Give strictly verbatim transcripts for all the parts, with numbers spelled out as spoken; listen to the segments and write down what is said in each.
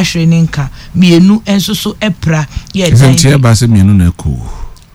Ahwere ne nka mmienu nso so apira yɛ Ɛsɛ ɛdan nti bi ɛba sɛ mmienu na ɛkɔ.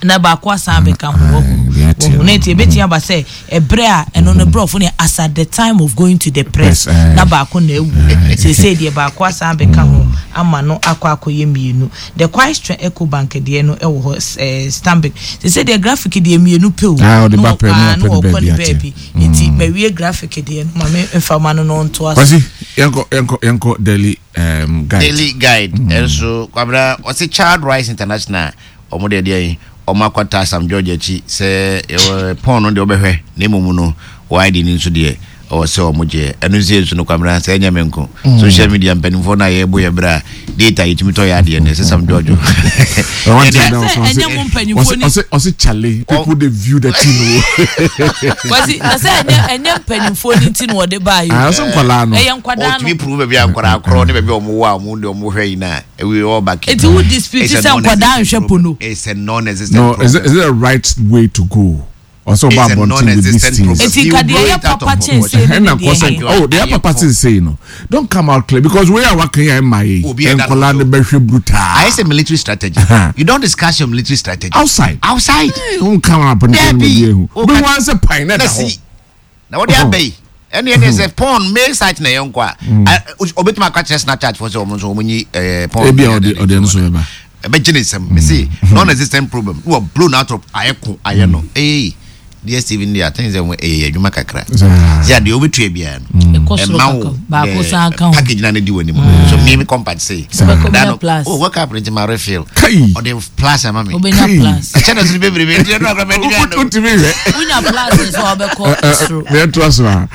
Na baako asan abɛka ho. Wahu Deɛ ɛteɛ wahu no. Na nti ebetumi aba sɛ ɛbrɛ a ɛno no borɔfo ne as at the time of going to the press Press, aye. na baako na ewu. Seesei deɛ, baako asan abɛka ho ama no akɔ akɔyɛ mmienu. The quite Ecobank deɛ no ɛwɔ hɔ, ɛɛ Stanbic. Seesei deɛ, Graphic deɛ, mmienu pe o. Ah, ɔde Na ba pɛ, ɔkɔ- na ah, na wapɛ ne ɔkɔ ne baabi ate. baabi. Nti mawie Graphic deɛ no, ma me nfa no no ntoa so. Kwasi, yɛnkɔ yɛnkɔ yɛnkɔ Daily um, Guide. Daily Guide ɛnso, Kwabena, ɔsi Child Rights International, ɔmo deɛ deɛ yi ɔmo akɔta Sam George akyi sɛ ɛwɔ pɔn no deɛ ɔbɛhwɛ na emu no wɔ I D ni nso deɛ ɔwɔ sɛ ɔmo gye. Ɛno nso yɛ nso no, Kwabena, sɛ ɛnyɛ me nko, social media mpanimfoɔ no a yɛbɔ yɛ berɛ a data yɛtumi tɔ yɛ adeɛ no, ɛsɛ Sam George. Ɔwɔ Sɛ nkyɛn na ɔsɛ ɛnyɛ mo mpanyinfoɔ ni- ɔsɛ ɔsɛ chale, people dey view the thing o. Kwasi, na sɛ ɛnyɛ ɛnyɛ mpanyinfoɔ ni ti na wɔde baa yi o. Ah, ɔsɛ nkwadaa no. Ɛyɛ nkwadaa no. Ɔtumi prove baabi a nkwadaa korɔ ne baabi a ɔmo wɔ a ɔmo de ɔmo hwɛ yi na ewi ɔba ke. Eti wo dispute sɛ nkwadaa nhwɛ pono? It's a non-existent No, is it, problem. is it the right way to go? Ɔsɛ ɔba It's a abɔnten with these non-existent things. problem. Eti You nka deɛ blow ɛyɛ it out of papa kyɛn proportion. sei ne Ɛna deɛ kɔ sɛ yɛ. oh, deɛ papa ti say no, don't come out clear because wey a waka yɛ ɛma yi Obi ɛda no nkwadaa so. no bɛhwɛ brutal. I say military strategy. Uh-huh. You don't discuss your military strategy outside. Outside. N come out abɔnten Dabi. mu bi ehu. O Obi ka- wọn sɛ pan na na ɛda si hɔ. Na wɔde aba yi, ɛne ɛne sɛ porn main site na yɛn nkɔ a obetumi aka kyerɛ Snapchat fo sɛ ɔmo nso ɔmo nyi ɛɛ porn. Ebi a ɔde ɔde ɛno so bɛba. Ɛbɛgye ne nsɛm mɛ non-existent problem ne wɔ blown out of ayɛ ko ayɛ no ee D S T V ni I think sɛ ɛyɛ adwuma kakra Saa. sɛ adeɛ wobɛtua biara no Ɛkɔ soro ɛma wo kakra, baako the san ka ho. package na ne di w'anim so me me compact sei. Wobɛkɔ Da bɛnya no, plus. oh, wake up nti ma refill. Kai. Ɔde plus ama me. Wobɛnya Kai. plus. Ɛkyɛ na so ne bebrebe nti ɛno akora mɛdi bi Wotumi hwɛ. Wonya plus nso a, wobɛkɔ soro. Mɛ to aso a.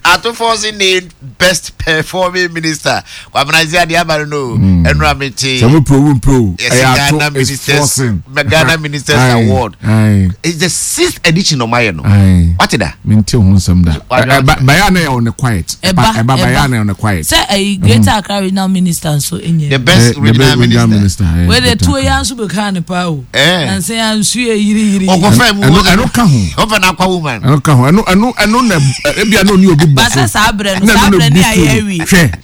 Ato Forson named best performing minister. Kwabena, sɛ adeɛ aba no no ɛnura me te Sɛ mo pro wo pro. Yɛsɛ Ɛyɛ Ghana Ato is Ministers forcing. Ghana Ministers Aye, Award. Aye. It's the sixth edition ɔmo ayɛ no. Aye. Wate da? Mente ho nsɛm da. Wadwa- Ɛ- ɛ, Bɛyɛ na yɛ on the quiet. Ɛba Ɛba bɛyɛ na yɛ on the quiet. Sɛ ɛyi Greater Accra Regional Minister nso nyɛ. The best Eh, the regional best regional minister. minister. Eh, Wei de Greater tuo Accra. ya nso bɛka ne paa o. Eh. Nansa ya nsu yɛ yiri yiri. Ɔkɔfɛ mu. Ɛno ɛno ka ho. Ɔfɛ na akwa woman. Ɛno ka ho. Ɛno ɛno ɛno na ebi a na oni obi bɔ so. Basa saa berɛ no, Na saa ɛno na berɛ ne boost ayɛ no. awie. Hwɛ.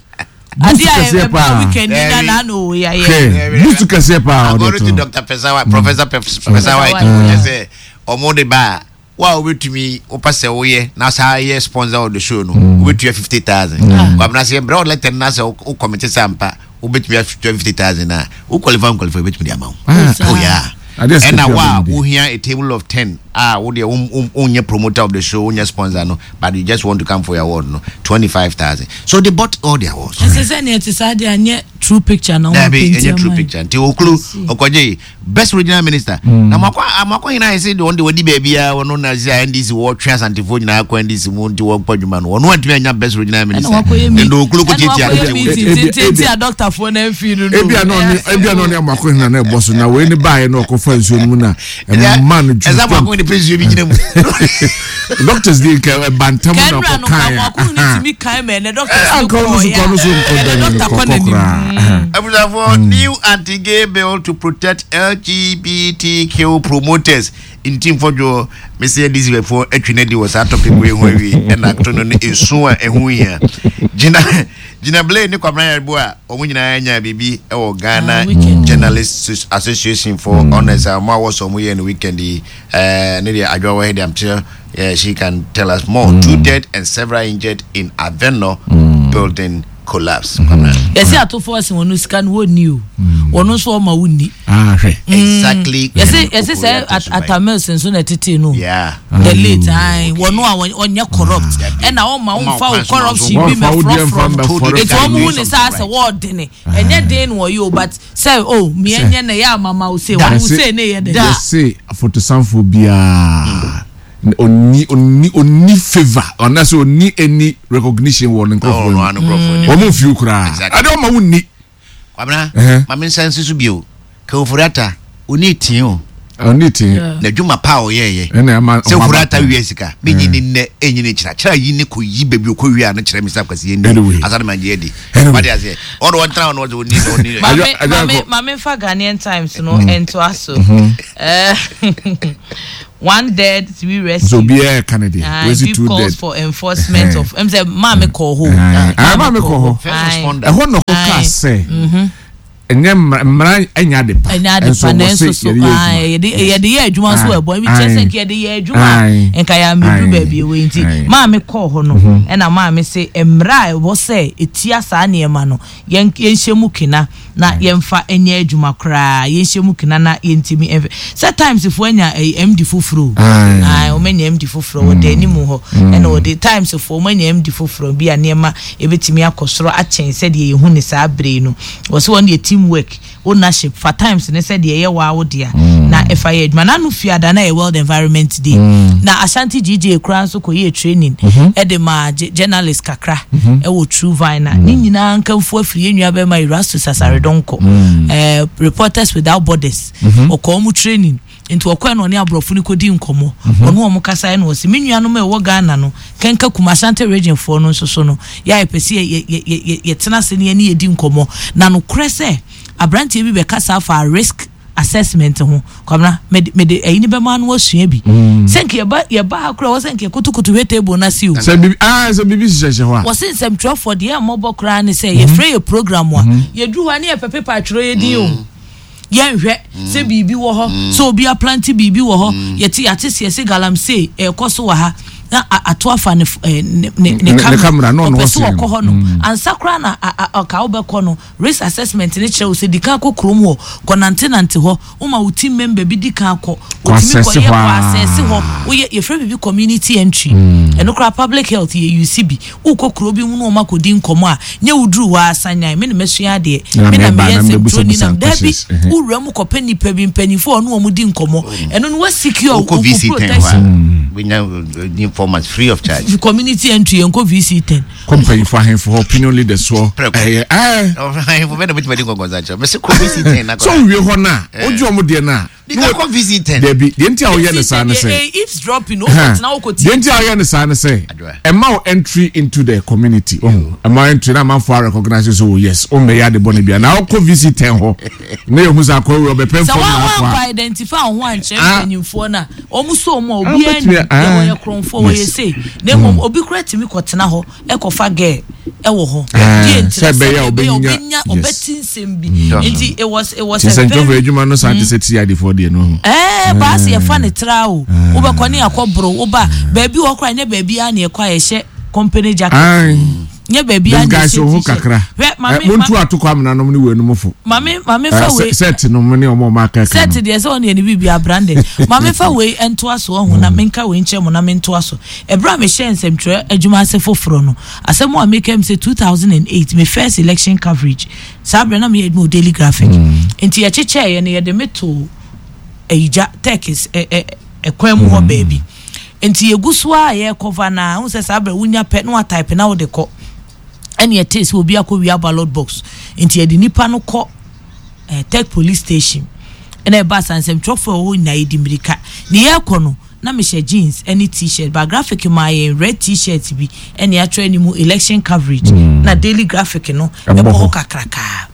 Boost Ade a kɛseɛ ɛba paa. weekend ni na Dabi. na na o yɛ. Hwɛ. Boost kɛseɛ paa ɔde According to to. Doctor Pesa, Professor Pesa White, White. ɔyɛ sɛ ɔmo de ba a wo a wobɛtumi wopɛ sɛ woyɛ na saa yɛ sponsor of the show no, wobɛtua fifty thousand. Kwabena, sɛ yɛbrɛ wo letter no na sɛ wo commit sɛ ampa wobɛtumi atua fifty thousand a, wo qualify nqualify, wobɛtumi de ama wo. Ah. Oh yeah. Adeɛ sɛ ɛna ketewa wo a bɛn bi. wohia a table of ten a wo deɛ wonyɛ promoter of the show, wonyɛ sponsor no, but you just want to come for your award no, twenty-five thousand. So they bought all the awards. Ɛsɛ sɛ neɛ te saa deɛ, anyɛ true picture na wɔn Dabi, paint ɛnyɛ true ama yi. picture. Nti okulu ɔkɔgye best regional minister na makɔ amakɔ nyinaa yɛ sɛ deɛ ɔno de wadi baabi a ɔno na sɛ N D C wɔtwe Asantefoɔ nyinaa kɔ N D C mu nti wɔkɔ adwuma no, ɔno antumi anya best regional Ɛna minister. wakɔyɛ mi ɛna okulu kɔ ɛna tietia wakɔyɛ Ebi- meeting ebi- tententen a doctorfoɔ na mfi no no. Ebi a na ɔne ebi a na ɔne amakɔ hina na ɛbɔ so na wei ne baayɛ na ɔkɔfa nsuo no mu na ɛma no ɛsɛ amakɔ ne pɛ nsuo bi gyina mu. Doctors di nka ɛba ntam na Kɛnura no ɔkɔ ka kan amakɔ ne tumi kan mɛ ɛnɛ doctors no anka ɔno so kɔɔ kɔ ɔno so nkɔ ya dan ɛnɛ no doctor kɔ kɔkɔ n'anim. koraa. Abusuafoɔ, new anti-gay bill to protect L G B T Q promoters. Nti mfɔdwo mesi N D C foɔ atwi no di wɔ saa topic wei ho awie. Ɛna ato no no esu a ɛho hia gyina gyina Blay ne Kwabena Yɛbo a wɔn nyinaa nya biribi ɛwɔ Ghana Ah, weekend. Journalists Association for honours a wɔn a wɔsɔ wɔn yɛ no weekend yi. ɛɛ ne deɛ adwa wɔ ha deɛ, I'm sure uh, she can tell us more. Two dead and several injured in Avenor building collapse. Kwabena. Yɛsɛ atofoɔ se wɔn sika no wɔnni o, wɔn nso ɔma wɔnni. Ah, hwɛ. Exactly. Yɛsɛ yɛsɛ sɛ At- Atta Mills nso na ɛtete no. Yeah. The late ayi wɔn a wɔn- ɔnyɛ corrupt ɛna ɔma Ɔma wɔnfa wo wo kwan so corruption ma bi wo mɛ deɛ mfa frɔfrɔ no. mbɛfɔre. Eti wɔn mu ne saa sɛ wɔɔdene ɛnyɛ den na wɔyɛ o, but sɛ o miɛ nyɛ na yɛ amama o se wɔn se ne yɛ dɛ. Yɛse afotosanfo biara onni onni onni favour ɔnasɛ onni any recognition wɔ ne Oh, nkurɔfoɔ no, mu. ano nkurɔfoɔ ni. Wɔn mu fiw koraa. Exactly. Ade ɔma wo nni. Kwabena, Ɛhɛ. maame nsa nsi so bio. Ken Ofori-Atta, oni tie o. Ɔne te. N'adwuma pa a ɔyɛɛyɛ. Ɛna ɛma Sɛ ɔmo aba Ofori-Atta paa. wia sika, menyi ne nnɛ, ɛnyi ne kyerɛ. Kyerɛ yi ne kɔ yi baabi okɔ wia no kyerɛ me sɛ akwasi yɛ Anyway. ni. Asane ma gye adi. Anyway. Wate aseɛ. Ɔno ɔntena hɔ no ɔsɛ ɔni ɔni. Maame Adwa- adwa maame nkɔ. maame fa Ghanaian Times no ntoa so. Eh, one dead, three rescued. So obiara ka ne deɛ. Ah, Wesi give two calls dead. for enforcement of ɛm sɛ maame kɔ hɔ. Ah, maame kɔ hɔ. First responder. Ɛhɔ na ɔkɔ kaa. sɛ ɛnyɛ mmara, ɛnyɛ ade pa. Ɛnyɛ ade pa, nanso so yɛde yɛde yɛ adwuma nso wɔ ɛbɔ ebi kyerɛ sɛ nka yɛde yɛ adwuma a, nka yɛ ameduru baabi ɛwɔ yi. Nti maame kɔɔ hɔ no, ɛna maame sɛ mmara a ɛwɔ sɛ etia saa nneɛma no, yɛn yɛnhyɛ mu kena na yɛmfa nyɛ adwuma koraa. Yɛnhyɛ mu kena na yɛntumi ɛmfɛ sɛ Times foɔ anya ɛyɛ M D foforɔ o. Ayi, wɔn anya M D foforɔ wɔ da anim hɔ, ɛna wɔde Times foɔ wɔn anya M D foforɔ bi a nneɛma ebetumi akɔ soro akyɛn sɛdeɛ yɛhu ne saa bere no. Wɔsɛ wɔn deɛ, team work, ownership, fa Times ne sɛdeɛ ɛyɛ waa wo dea na ɛfa yɛ adwuma. N'ano fiada na yɛ World Environment Day, na Ashanti G J koraa nso kɔ yɛ training ɛde ma journalist kakra ɛwɔ True Vine, na ne nyinaa nkanfo afiri yɛn nua bɛrima Erastus Asaredɔnkɔ, ɛɛ Reporters Without Borders. Ɔkɔ ɔmo training, nti ɔkɔɛ na ɔne aborɔfo no kɔdi nkɔmmɔ. Ɔno ɔmo kasa ɛna ɔsi me nuanom a ɛwɔ Ghana no, kɛnka kuma Ashanti Region foɔ no nso so no, yɛ a yɛpɛ sɛ yɛtena ase ne yɛne yɛdi nkɔmmɔ. Na nokorɛ sɛ aberanteɛ bi bɛkasa afa risk assessment ho. Kwamina, mede mede ɛyi ni bɛma no asua bi sɛ nka yɛba yɛba ha koraa wɔ sɛ nka yɛkotokoto hwɛ table no ase o. Sɛ bibi aa sɛ bibi hyehyɛ hɔ a. Wɔsi nsɛmtwerɛfoɔ deɛ, ɛmmɔbɔ koraa ne sɛ yɛfrɛ yɛ program a, yɛduru hɔ a ne yɛpɛ paper atwerɛ yɛ din o. Yɛnhwɛ sɛ biribi wɔ hɔ, sɛ obi aplante biribi wɔ hɔ. Yɛte yɛate seɛ sɛ galamsey ɛkɔ so wɔ ha na ato afa ne ne ne ne camera, ɔpɛ sɛ ɔkɔ hɔ no ansa koraa na ɔka wobɛkɔ no. Risk assessment ne kyerɛ wo sɛ di kan kɔ kurom hɔ, kɔ nantenante hɔ, woma wo team member bi di kan kɔ, otumi kɔ yɛ kɔ assess hɔ. Woyɛ yɛfrɛ biribi community entry. Ɛno koraa public health yɛ use bi. Wokɔ kuro bi mu na wɔn akɔdi nkɔmɔ a, nyɛ woduru hɔ asanyan me na mɛsua adeɛ, me na meyɛ nsɛmtwerɛni nam daabi. Wowura mu kɔpɛ nipa bi, mpanyinfoɔ a ɔne wɔn di nkɔmɔ, ɛno no wasecure wo protection. Informants free of charge. Community entry, yɛn kɔ V C ten. Kɔ mpanyinfoɔ, ahemfo hɔ, opinion leaders hɔ, ɛyɛ ɛɛ. Ahemfo bɛ na bɛtuma di nkɔnkɔnsa kyerɛ mɛ sɛ kɔ V C ten na. So nwie hɔ na o gye ɔmo deɛ na. Dika kɔ V C ten. Dabi, deɛ nti a ɔyɛ ne saa ne sɛ. Eavesdropping o kɔ tena o kɔ tie. Deɛ nti a ɔyɛ ne saa ne sɛ, ɛma o entry into the community, ɔho ɛma o entry na amanfo a recognize so, oh yes, o mbɛyɛ ade bɔ ne bia na ɔkɔ V C ten hɔ ne yɛ hu sɛ akɔ ewu ɔbɛpɛ nfɔm na akɔ a. Sɛ wɔn akɔ identify wɔn ho ankyerɛ mpanyinfoɔ na wɔn so wɔn a obi ani yɛ wɔyɛ korɔnfoɔ, wɔyɛ sei, na mmom obi kura tumi kɔtena hɔ ɛkɔfa girl ɛwɔ hɔ. Die ntina sɛ ɛbɛyɛ ɔbɛnya ɔbɛti nsɛm bi. Nti it was it was a very. Adwuma no saa te sɛ ti adefoɔ deɛ no ho. Ɛɛ, baasi yɛfa ne tra o, wobɛkɔ ne akɔ boro, woba baabi wɔ kora, nyɛ baabi a ne ɛkɔ a yɛhyɛ company jacket, nyɛ baabi a ne yɛhyɛ t-shirt. Kakra muntu atokɔ amena nom ne wɔ enum fo. Maame, maame fa wei. Set nom ne ɔmo ɔmo aka. Set deɛ sɛ ɔne yɛ ne biribi abranded. Maame fa wei ntoa so ɔho na menka wei nkyɛn mu na mentoa so. Ɛberɛ a mehyɛ nsɛmtwerɛ adwuma ase foforɔ no, asɛm a meka m sɛ two thousand and eight, me first election coverage, saa berɛ na meyɛ adwuma wɔ Daily Graphic. Nti yɛkyekyɛeɛ no, yɛde me to ayigya Turkis ɛkwan mu hɔ baabi. Nti yɛgu so a yɛrekɔva na wohu sɛ saa berɛ wonya pɛ na watype na wode kɔ, ɛne ɛtee sɛ obi akɔ wia ballot box. Nti yɛde nipa no kɔ eh, Tech Police Station, ɛna ɛba asa nsɛmtwerɛfoɔ a ɛwɔ hɔ nyinaa yɛdi mmirika ne yɛrekɔ no, na mehyɛ jeans ɛne T-shirt ba Graphic maa yɛn red T-shirt bi ɛne atwerɛ anim election coverage mm. na Daily Graphic no ɛbɔ hɔ kakrakaa.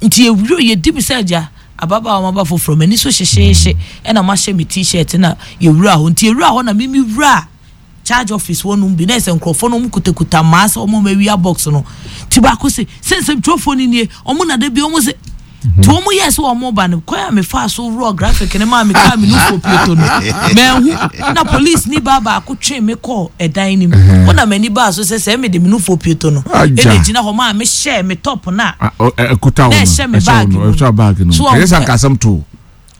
Nti yɛwuro yɛdi mi sɛ agya ababaawa maba foforɔ, m'ani so hyehyeehye, ɛna mahyɛ me T-shirt na yɛwura hɔ. Nti yɛwura hɔ na mimi wura charge office hɔ nom bi na ɛsɛ nkurɔfoɔ no wɔn kutakuta mmaa sɛ wɔn awia box no. Ti baako sɛ sɛ nsɛmtwerɛfoɔ no nie, wɔn na de bi wɔn sɛ nti wɔn yɛ sɛ wɔn ba no kwan a mefa so wurɔ Graphic ne maa mi kaa mi nufo pieto no mɛnhu, na police ni baa baako twe mi kɔɔ ɛdan no mu wɔn na m'ani baa so sɛ sɛ mi de mi nufo pieto no ɛna gyina hɔ maa mi hyɛ mi top na ɛkuta wɔn na ɛhyɛ mi bag mu ɛhyɛ bag no ɛyɛ sɛ nkasɛm to.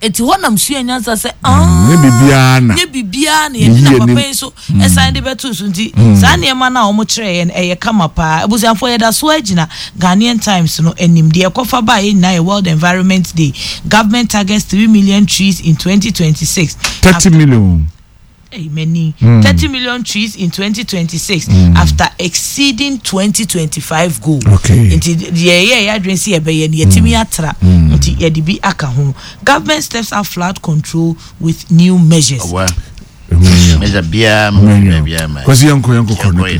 Eti hɔ nam sua nyansa sɛ nye biribiara na nye biribiara na yɛde na papa yi so ɛsan de bɛto so. Nti saa nneɛma no a wɔn kyerɛ yɛn ɛyɛ kama paa. Abusuafoɔ, yɛda so agyina Ghanaian Times no anim. Deɛ ɛkɔfa baa yɛn nyinaa yɛ World Environment Day. Government targets three million trees in twenty twenty-six. Thirty million. Hey, many mm. thirty million trees in twenty twenty-six mm. after exceeding twenty twenty-five goal. Okay. Nti deɛ ɛyɛ ɛyɛ adwene si ɛbɛyɛ no, yɛtumi atra nti yɛde bi aka ho. Government steps up flood control with new measures. Measure biara ma biara ma. Kwasi, yɛnkɔ yɛnkɔ kɔ ne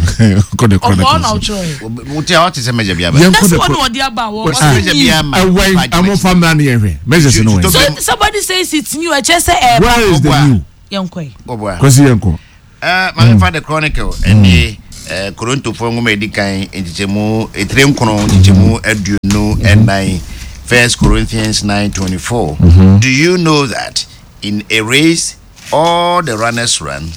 kɔ de kɔ ne kɔ. Ɔbɔ na ɔtwerɛ yɛ. Wote a ɔte sɛ measure biara ma. Yɛnkɔ de kɔ. That's what ɔde aba wɔ. Measure biara ma. Ɛwɛn amofa mmira ni yɛn hwɛ measures no wɛn. So somebody says it's new, ɛkyɛ sɛ ɛɛba. Where is the new? Yɛnkɔ yi. Kwasi, yɛnkɔ. Uh, maame fa The Chronicle ɛnie. Eh, Korintofoɔ nwoma a ɛdi kan nkyekyɛmu etire nkron nkyekyɛmu aduonu ɛnan First Corinthians nine twenty four. Do you know that in a race all the runners run?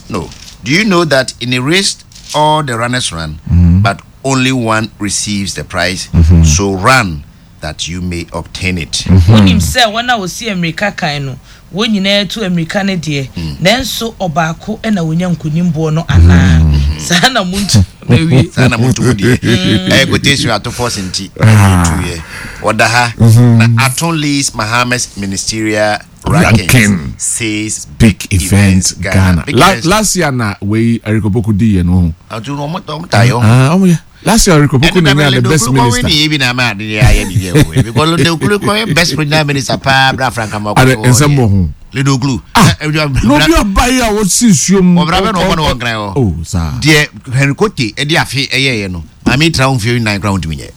No. Do you know that in a race all the runners run, but only one receives the prize? So run that you may obtain it. Wonim sɛ wɔn a wɔsi mmirika kan no, wɔn nyinaa tu mmirika no deɛ, nanso ɔbaako na wonya nkonimboɔ no anaa? Saa na muntu mawie. Saa na moto mu deɛ ɛyɛ quotation Ato Forson nti ɛyɛ ɔda ha na Ato leads Mahama's ministerial rankings Ranking. Says Big Event Ghana. Big La, Events. last year na wei Eric Opoku di yɛ no ho. Ato no ɔmo ɔmo ta yɛ. Ah, ɔmo yɛ. Last year Eric Opoku na nya the best minister. Ni ebi na ama ade ayɛ bi yɛ o because Ledokulu kɔ best regional minister paa bra Frank Amoako. Ade nsɛm wɔ ho. Ledokulu. Ah, na obi ɔba yi a wɔsi nsuo mu. Ɔbra bɛ na ɔbɔ na wɔnkran hɔ. Oh, saa. Deɛ Henry Kote ɛde afe ɛyɛyɛ no, maame tira wo mfeɛ nnan koraa wontumi nyɛ.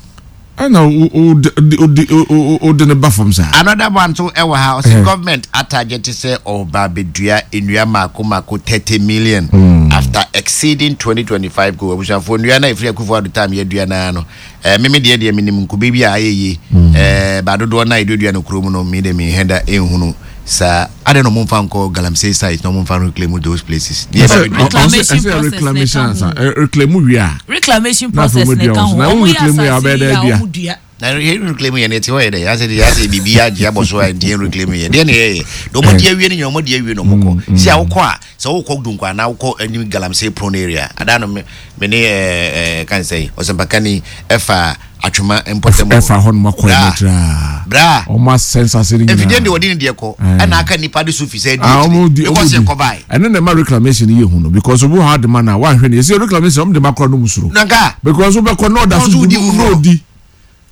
Ɛna o o de o de o o de ne ba fam saa. Another one nso ɛwɔ ha, ɔsɛ government atarget sɛ ɔba abɛdua nnua mako mako thirty million after exceeding twenty twenty five goal. Abusuafoɔ, nnua na efiri Akufo Addo time yɛdua naa no, ɛɛ mimi deɛ deɛ minim nkube bi a ayɛ yie, ɛɛ baadodoɔ na yɛduadua no kurom no, mi de mi hɛn da ehunu saa ade na ɔmo nfa nkɔ galamsey site na ɔmo nfa reclaim those places. Deɛ Ɛsɛ ɛbɛ bɛdua. Reclamation ɛsɛ process reclamation na ɛka ansa. ho. Ɛ, reclaim wie a. Reclamation Na afei process ɔmo na dua ɛka wɔ so. ho. Na Ɔmo wo yɛ reclaim wie a, asase ɔbɛyɛ yi dɛ a dua. ɔmo dua. Na yɛn reclaim yɛ no ɛte hɔ yɛ dɛ yasɛ de yasɛ biribi agye abɔ so a nti yɛn reclaim yɛ deɛ na yɛyɛ na ɔmo di awie no nyɛ ɔmo di awie na ɔmo kɔ si a wokɔ a sɛ wokɔ Dunkwa anaa wokɔ anim galamsey prone area adaa no me me ne ɛɛ ɛɛ kan sɛ ɔsɛmpakani ɛfa Atwoma mpɔtam. Ɛfa hɔ nom akɔ Bra. ɛno tiraa. Bra. Ɔmo asɛ nsase no nyinaa. Mfidie deɛ wɔde ne deɛ kɔ ɛna aka nipa de so fi sɛ Ah, ɔmo di di akyire ɔmo because di yɛ kɔ bae. Ɛno na ɛma reclamation yɛ hu no because obi wɔ ha de ma na wahwɛ no yɛsɛ reclamation ɔmo de ma korɔ no mu soro. Nanka. Because wobɛkɔ na ɔda Ɔno so nso gu wodi na foforɔ. odi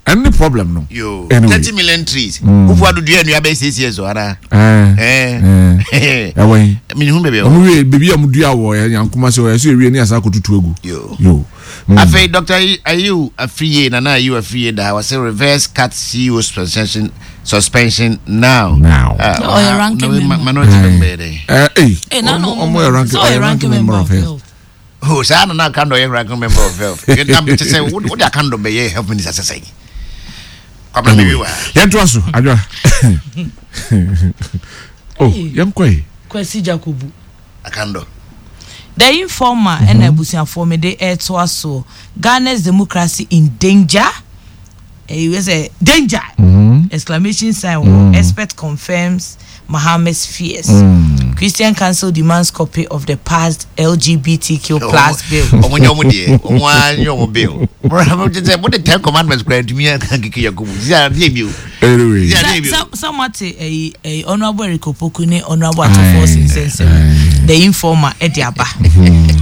ɛno ne problem no. Yo. Anyway. Thirty million trees Kufu Ado dua nnua bɛyɛ six years o ana. Ɛɛ ɛɛ ɛɛ ɛwɔ yi. Minihu baabi a ɔmo ɛwɔ. wie beebi a ɔmo dua wɔ ɛ Nyankoma sɛ ɔyɛ sɛ ewie ne asa akɔtutu egu. Yo. Yo. Mm. Afei Doctor Ayew Afriye, Nana Ayew Afriye da wɔsɛ reverse C A T C E O suspension suspension now. Now. Ah, Ɔyɛ ranking na we- member. minority member yɛ dɛ. Ɛɛ ee Eh, na na ɔmo ɔmo yɛ ranking sɛ ɔyɛ ɔyɛ ranking member of health. Oh, saa na na Akandoh yɛ ranking member of health. Yɛ te sɛ wo de Akandoh bɛyɛ health minister sɛ sɛn. Kwabena mi wi wa. Yɛn to aso adwa oh yɛn kɔ yi. Kwasi Jacobu. Akandoh. The Informer ɛna abusuafoɔ mi de ɛtoa so, Ghana's democracy in danger, ɛyi wɛ sɛ danger exclamation sign wɔ, expert confirms Mahama's fears, Christian Council demands copy of the passed L G B T Q plus bill. Ɔmo nyɛ ɔmo deɛ ɔmo ara nyɛ ɔmo bill. Mo te sɛ mo de Ten Commandments kura ntumi yɛ keke Yakubu. Sisi adeɛ bi o. Anyway. Sisi adeɛ bi o. Sɛ moate ɛyi ɛyi Honourable Eric Opoku ne Honourable Ato Forson nsɛnsɛm, The Informer ɛde aba,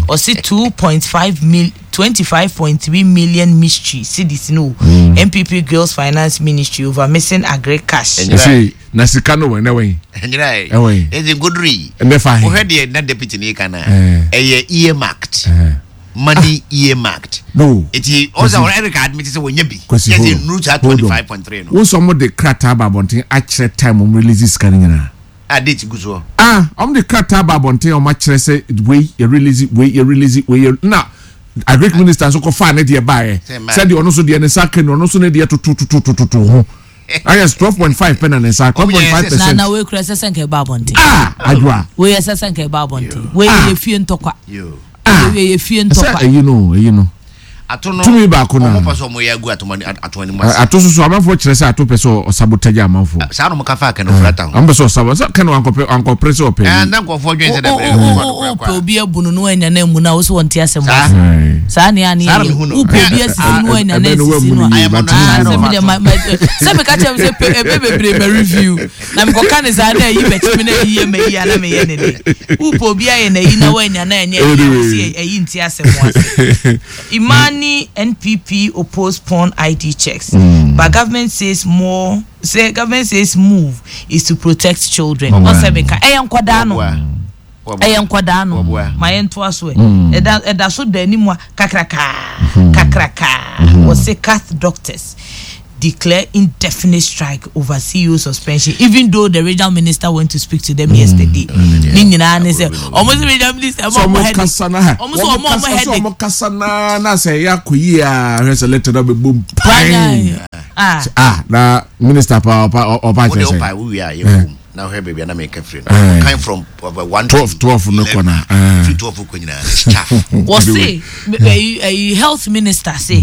ɔsi two point five mil twenty five point three million mystery cedis no, N P P grills Finance Ministry over missing agric cash. Ɛnyɛ- Ɛsɛ na sika no wɔ ɛnɛ wɔ yi. Ɛnyina yi. Ɛwɔ yi. Ɛdi nkoduru yi. Ɛnɛ fa he. Wohwɛ deɛ na deputy ne ka na Eh. ɛyɛ earmarked Ɛɛ. money, earmarked. No. Eti ɔsɛ ɔrɛ Eric admit sɛ wɔnyɛ bi. Kwasi, yɛ hold sɛ on. nuru saa Hold on. twenty five point three no. Wo sɛ ɔmo de krataa ba abɔnten akyerɛ time ɔmo release sika no nyinaa. A date gu soɔ. Ah, ɔmo de krataa ba abɔnten a ɔmo akyerɛ sɛ wei yɛ release, wei yɛ release, wei yɛ na agric minister nso kɔ faa ne deɛ baayɛ Sɛ mmaa. sɛdeɛ ɔno nso deɛ ne nsa ka ni, ɔno nso ne deɛ tototototo ho ayɛ twelve point five pɛ na ne nsa twelve point five Na percent. na wei kura ɛsɛ sɛ nka ɛba abɔnten. Ah, adwoa. Wei ɛsɛ sɛ nka ɛba abɔnten, wei Ah. yɛ fie ntɔkwa. Yo. Ah. Wei yɛ fie ɛsɛ ntɔkwa. ɛyi no ɛyi no Ato no Tumi baako na. Ɔmo pɛ sɛ ɔmo yɛ agu ato ato anim ase. Ato soso amanfoɔ kyerɛ sɛ ato pɛ sɛ ɔsabotage amanfoɔ. Saa na ɔmo ka fa akɛnɛ ofura ta ho. Ɔmo pɛ sɛ ɔsabo sɛ kɛne wankɔpɛ wankɔpere sɛ ɔpɛ ɛɛ yi. Na nkɔfoɔ dwen sɛ o dɛbɛ o o o pɛ obi abu no no anya na emu na wo so wɔn ti asɛm Saa. ase. Aye. Saa ne ani Saa na yɛ mehu no. wopɛ obi asisi no anya na Ɛbɛ no esisi wamu no no a yie, Ayɛ but mo no, Ah, ah, sɛ no. mi deɛ ma ma sɛ mi ka kyerɛ mi sɛ pe ebe bebree ma review na mi kɔ ka ne saa na eyi bɛkyi mi na eyi yɛ ma yi ana mi yɛ ne de wopɛ obi ayɛ na eyi na wanya na ɛnyɛ eyi a wosi eyi nti asɛm ase. Imani N P P oppose porn I D checks, but government says more say government says move is to protect children. Ɔsɛ mi ka ɛyɛ nkɔdaa no, ɛyɛ nkɔdaa no. Wɔboa. Ma yɛn to aso ɛ ɛda ɛda so da anim a kakrakaa kakrakaa. Wɔsi C A T doctors Declare indefinite strike over C E O suspension, even though the regional minister went to speak to them yesterday. Ne nyinaa ne sɛ ɔmo sɛ regional minister ɛma ɔmo headache. Kasa na ɔmo sɛ ɔmo ɔmo headache. Ɔmo kasa na na sɛ ɛyɛ akɔ yie a, hwɛ sɛ letter na bɛ bom pan. Ah. Ah, na minister pa ɔpa ɔpa wode kyerɛ sɛ wopa wowie a yɛfom na wohwɛ baabi a na meka firi no kan from uh, one twelve twelve no kɔ na eh. Firi twelve kɔ nyinaa it's chaff. Wɔse ɛyi ɛyi health minister se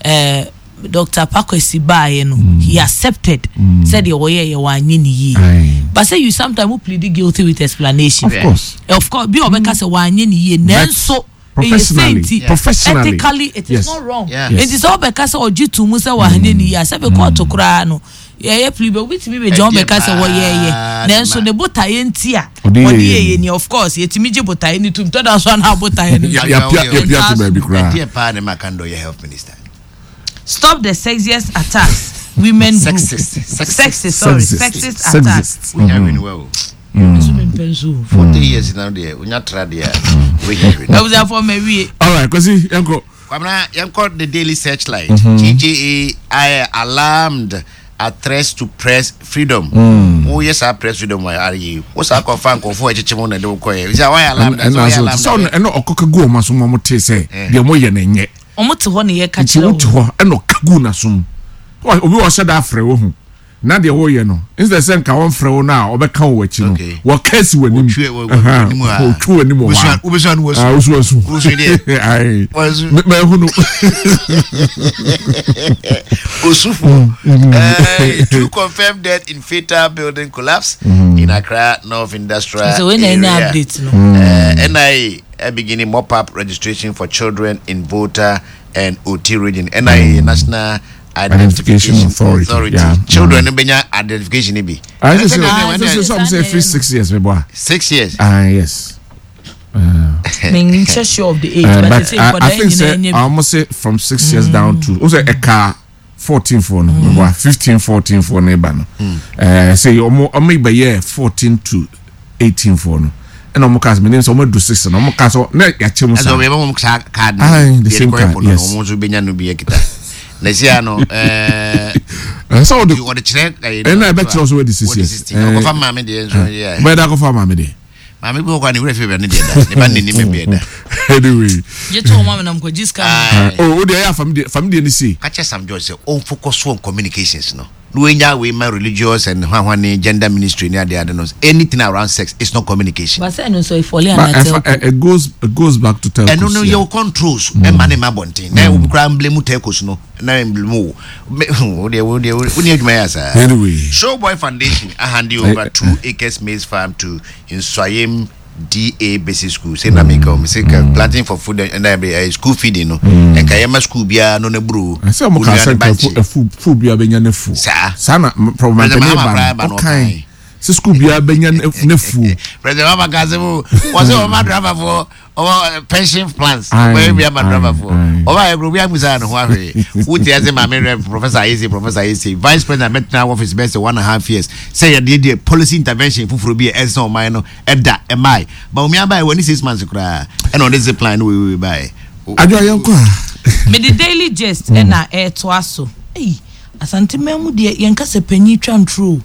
ɛɛ Doctor Pakwesi baayɛ no, he accepted sɛdeɛ wɔyɛ yɛ wɔanyɛ ne yie. Aye. But say you sometimes wo plead guilty with explanation. Of course. Of course, bi a ɔbɛka sɛ wɔanyɛ ne yie, nanso ɛyɛ professionally, sɛ nti professionally. Ethically it is Yes. not wrong. Yeah. Yes. Nti sɛ ɔbɛka sɛ ɔgye to mu sɛ wɔanyɛ ne yie a, sɛbi kɔɔto koraa no yɛyɛ plea bɛ obi tumi bɛ gyina Ɛdeɛ ɔbɛka sɛ wɔyɛɛyɛ paa nanso ne ne botaeɛ nti a ɔde ɔde yɛyɛ. yɛyɛ ni, of course yɛtumi gye botaeɛ no tum tɔda so ana botaeɛ no Ya- nso. yapia yapia to baabi koraa. Ɛdeɛ paa ne ma kan dɔ yɛ health minister. Stop the Sexiest Attacks women group. Sexist. Sexist. Sexist, sorry. Sexist. Sexist attacks. Sexist. Wonya hwɛ ne wa o. Nso mempɛ nso o. forty years na deɛ wonya tra deɛ a wohia hwɛ no. Abusuafoɔ, ma wie. All right, Kwasi, yɛnkɔ. Kwamina, yɛnkɔ the Daily Searchlight. G J A I alarmed at threats to press freedom. Woyɛ saa press freedom a are yi wo saa kɔfa nkɔfoɔ a ɛkyekyɛ mu na ɛde wo kɔɛ sɛ woayɛ alarmed a, sɛ ɛna woyɛ so alarmed sɛ ɔno a, ɛna ɔkɔka gu ɔmo asom, ɔmo te sɛ deɛ mo yɛ no nyɛ. Ɔmo te hɔ ne yɛka nti kyerɛ wote wo. Hɔ ɛna ɔka gu n'asom. Wa- obi wɔ ɔhyɛ da afrɛ wo ho na deɛ wɔyɛ no, instead sɛ nka wɔmfrɛ wo no a ɔbɛka wo akyi no, Okay. wɔka si w'anim. Wɔtwe- wɔ- wɔ- Ɛhã, w'anim a- wɔtwe w'anim wɔ hɔ a. Wobɛsua- wobɛsua no wasu. Ah, wosu asu. Wosu deɛ. Aye. Wasu. Me- mahu no. Osufo. Uh, two confirmed death in fatal building collapse in Accra North Industrial So when any Area. update no. Uh, N I A uh, beginning mop up registration for children in Volta and Oti region. N I A, National Identification Identification Authority, Authority. yeah. Children mm. benya identification ni bi. Ah, sɛ sɛ Ah, sɛ sɛ ɔmo sɛ every six years meboa. Six years. Ah, yes. Menkyɛ sure of the age, Uh, but but sɛ I, I nkwadaa think nyinaa sɛ nyɛ bi. ɔmo say from six years down to o sɛ ɛka fourteen foɔ no meboa, fifteen fourteen foɔ no eba no, ɛɛ sɛ ɔmo ɔmo bɛyɛ fourteen to eighteen foɔ no, ɛna ɔmo ka sɛ menim sɛ ɔmo adu six no, ɔmo ka sɛ na yɛakyɛ mu Ɛsɛ saa. ɔmo yɛbɛ mo saa card. Aye, the same card, yes. Ɔmo nso benya no bi ekita. Na esi ano ɛɛ. Ɛsɛ ɔde Ɔde kyerɛ ɛyi. Ɛna ɛbɛkyerɛ sɛ wɔadi six years. Ɔkɔfa maame deɛ nso yɛ. Bɛyɛ dɛ akɔfa maame deɛ. Maame bi wɔ kɔ a ne wura fi bɛ ne deɛ da ne ba ne nim bɛ da. Anyway. Gye to ɔmo amenam kɔ gye sika no. Aye. Oh, o deɛ ɛyɛ fam deɛ fam deɛ ne si. Kakyɛ Sam George sɛ ɔmfocus on communications no na wɔnya wei ma religious and hwahwa ne gender ministry ne ade ade no. Anything around sex is not communication. But sɛ ɛno nso ɛfɔle But ana ɛfa telco. it goes it goes back to telcos. Ɛno no yeah. yɛwɔ controls ɛma ne ma abɔnten na obi koraa mblame telcos no na mblame wo. Me- wo deɛ wo deɛ wo ne adwuma yɛ asaa. Anyway. Showboy Foundation ahand over two acres maize farm to Nsuaem D A Basic School. Sɛ na meka o sɛ ka planting for food and uh, school feeding no, ɛnka yɛma school biara no na buro. Sɛ ɔmo ka sɛ nka ɛfu ɛfu fu biara bɛnya ne fu. Saa. Saa na President mampanin Mahama koraa ba ba no no ɔkan ɔkae. sɛ school biara bɛnya ne ne fu. President Mahama ka sɛ mo wɔ sɛ ɔma driverfoɔ ɔwɔ pension plans. Aye, wɔyɛ bi ama aye, driverfoɔ aye. ɔba yɛ obi amusa ne ho ahwɛ wote ase maame rɛ Professor Ayese, Professor Ayese, vice president mɛtena office bɛsɛ one and a half years sɛ yɛde deɛ policy intervention foforɔ bi a ɛsɛ ɔman no ɛda ɛmae ba omi aba yɛ wɔ ne six months koraa ɛna ɔde zip line no weiwei baeɛ. Adwo yɛn kɔ a. Mede Daily Gist ɛna ɛɛtoa so. Ei, Asanteman mu deɛ, yɛnka sɛ panyin twa ntoro o,